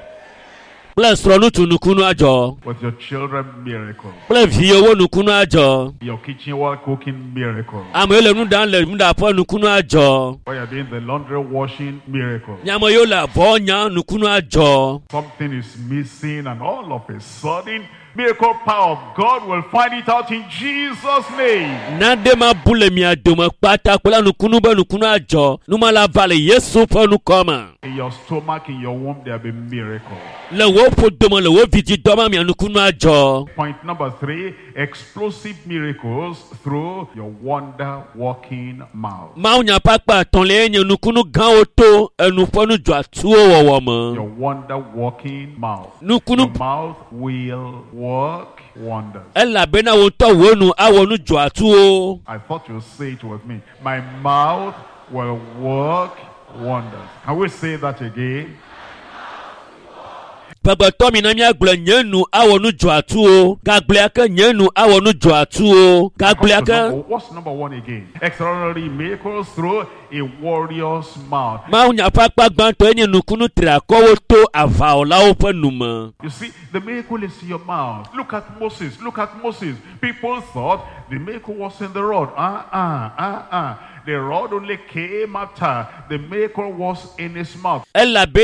Kple srɔ̃ŋutsu nukunu adzɔ. With your children, miracle. Kple viwo nukunu adzɔ. Your kitchen while cooking, miracle. Ame yiwo le nu ɖam le nuɖaƒe nukunu adzɔ. While you're doing the laundry washing, miracle. Ame yiwo le avɔ nyam nukunu adzɔ. Something is missing, and all of a sudden, miracle power of God will find it out in Jesus' name. Nane ma bu le mia dome kpata kple nukunu be nukunu adzɔ. Numa la va le Yesu ƒe nukɔme. In your stomach, in your womb, there'll be miracle. Le wò ƒodome le wò vidzidɔ me mia nukunu adzɔ. Point number three, explosive miracles through your wonder working mouth. Mawu nya ƒe akpa etɔ̃lia nye nukunu gãwo to enu ƒe nudzɔatsuwo wɔwɔ me. Your wonder working mouth. Nukunu Your mouth will work wonders. elabena wò ŋutɔ wò nu awɔ nu dzɔatsuwo. I thought you'd say it with me. My mouth will work wonders. Can we say that again? Ƒegbetɔ mi na míagblɔ nye nu awɔ nu dzɔatsuwo. Gagblɔe ke nye nu awɔ nu dzɔatsuwo. Gagblɔe Come to ke. number- What's number one again? Extraordinary miracles through a warrior's mouth. Mawu nya ƒe akpa gbãtɔe nye nukunu triakɔwo to aʋawɔlawo ƒe nu me. You see, the miracle is in your mouth. Look at Moses. Look at Moses. People thought the miracle was in the rod. Uh-uh, uh-uh. The rod only came after the miracle was in his mouth. Elabe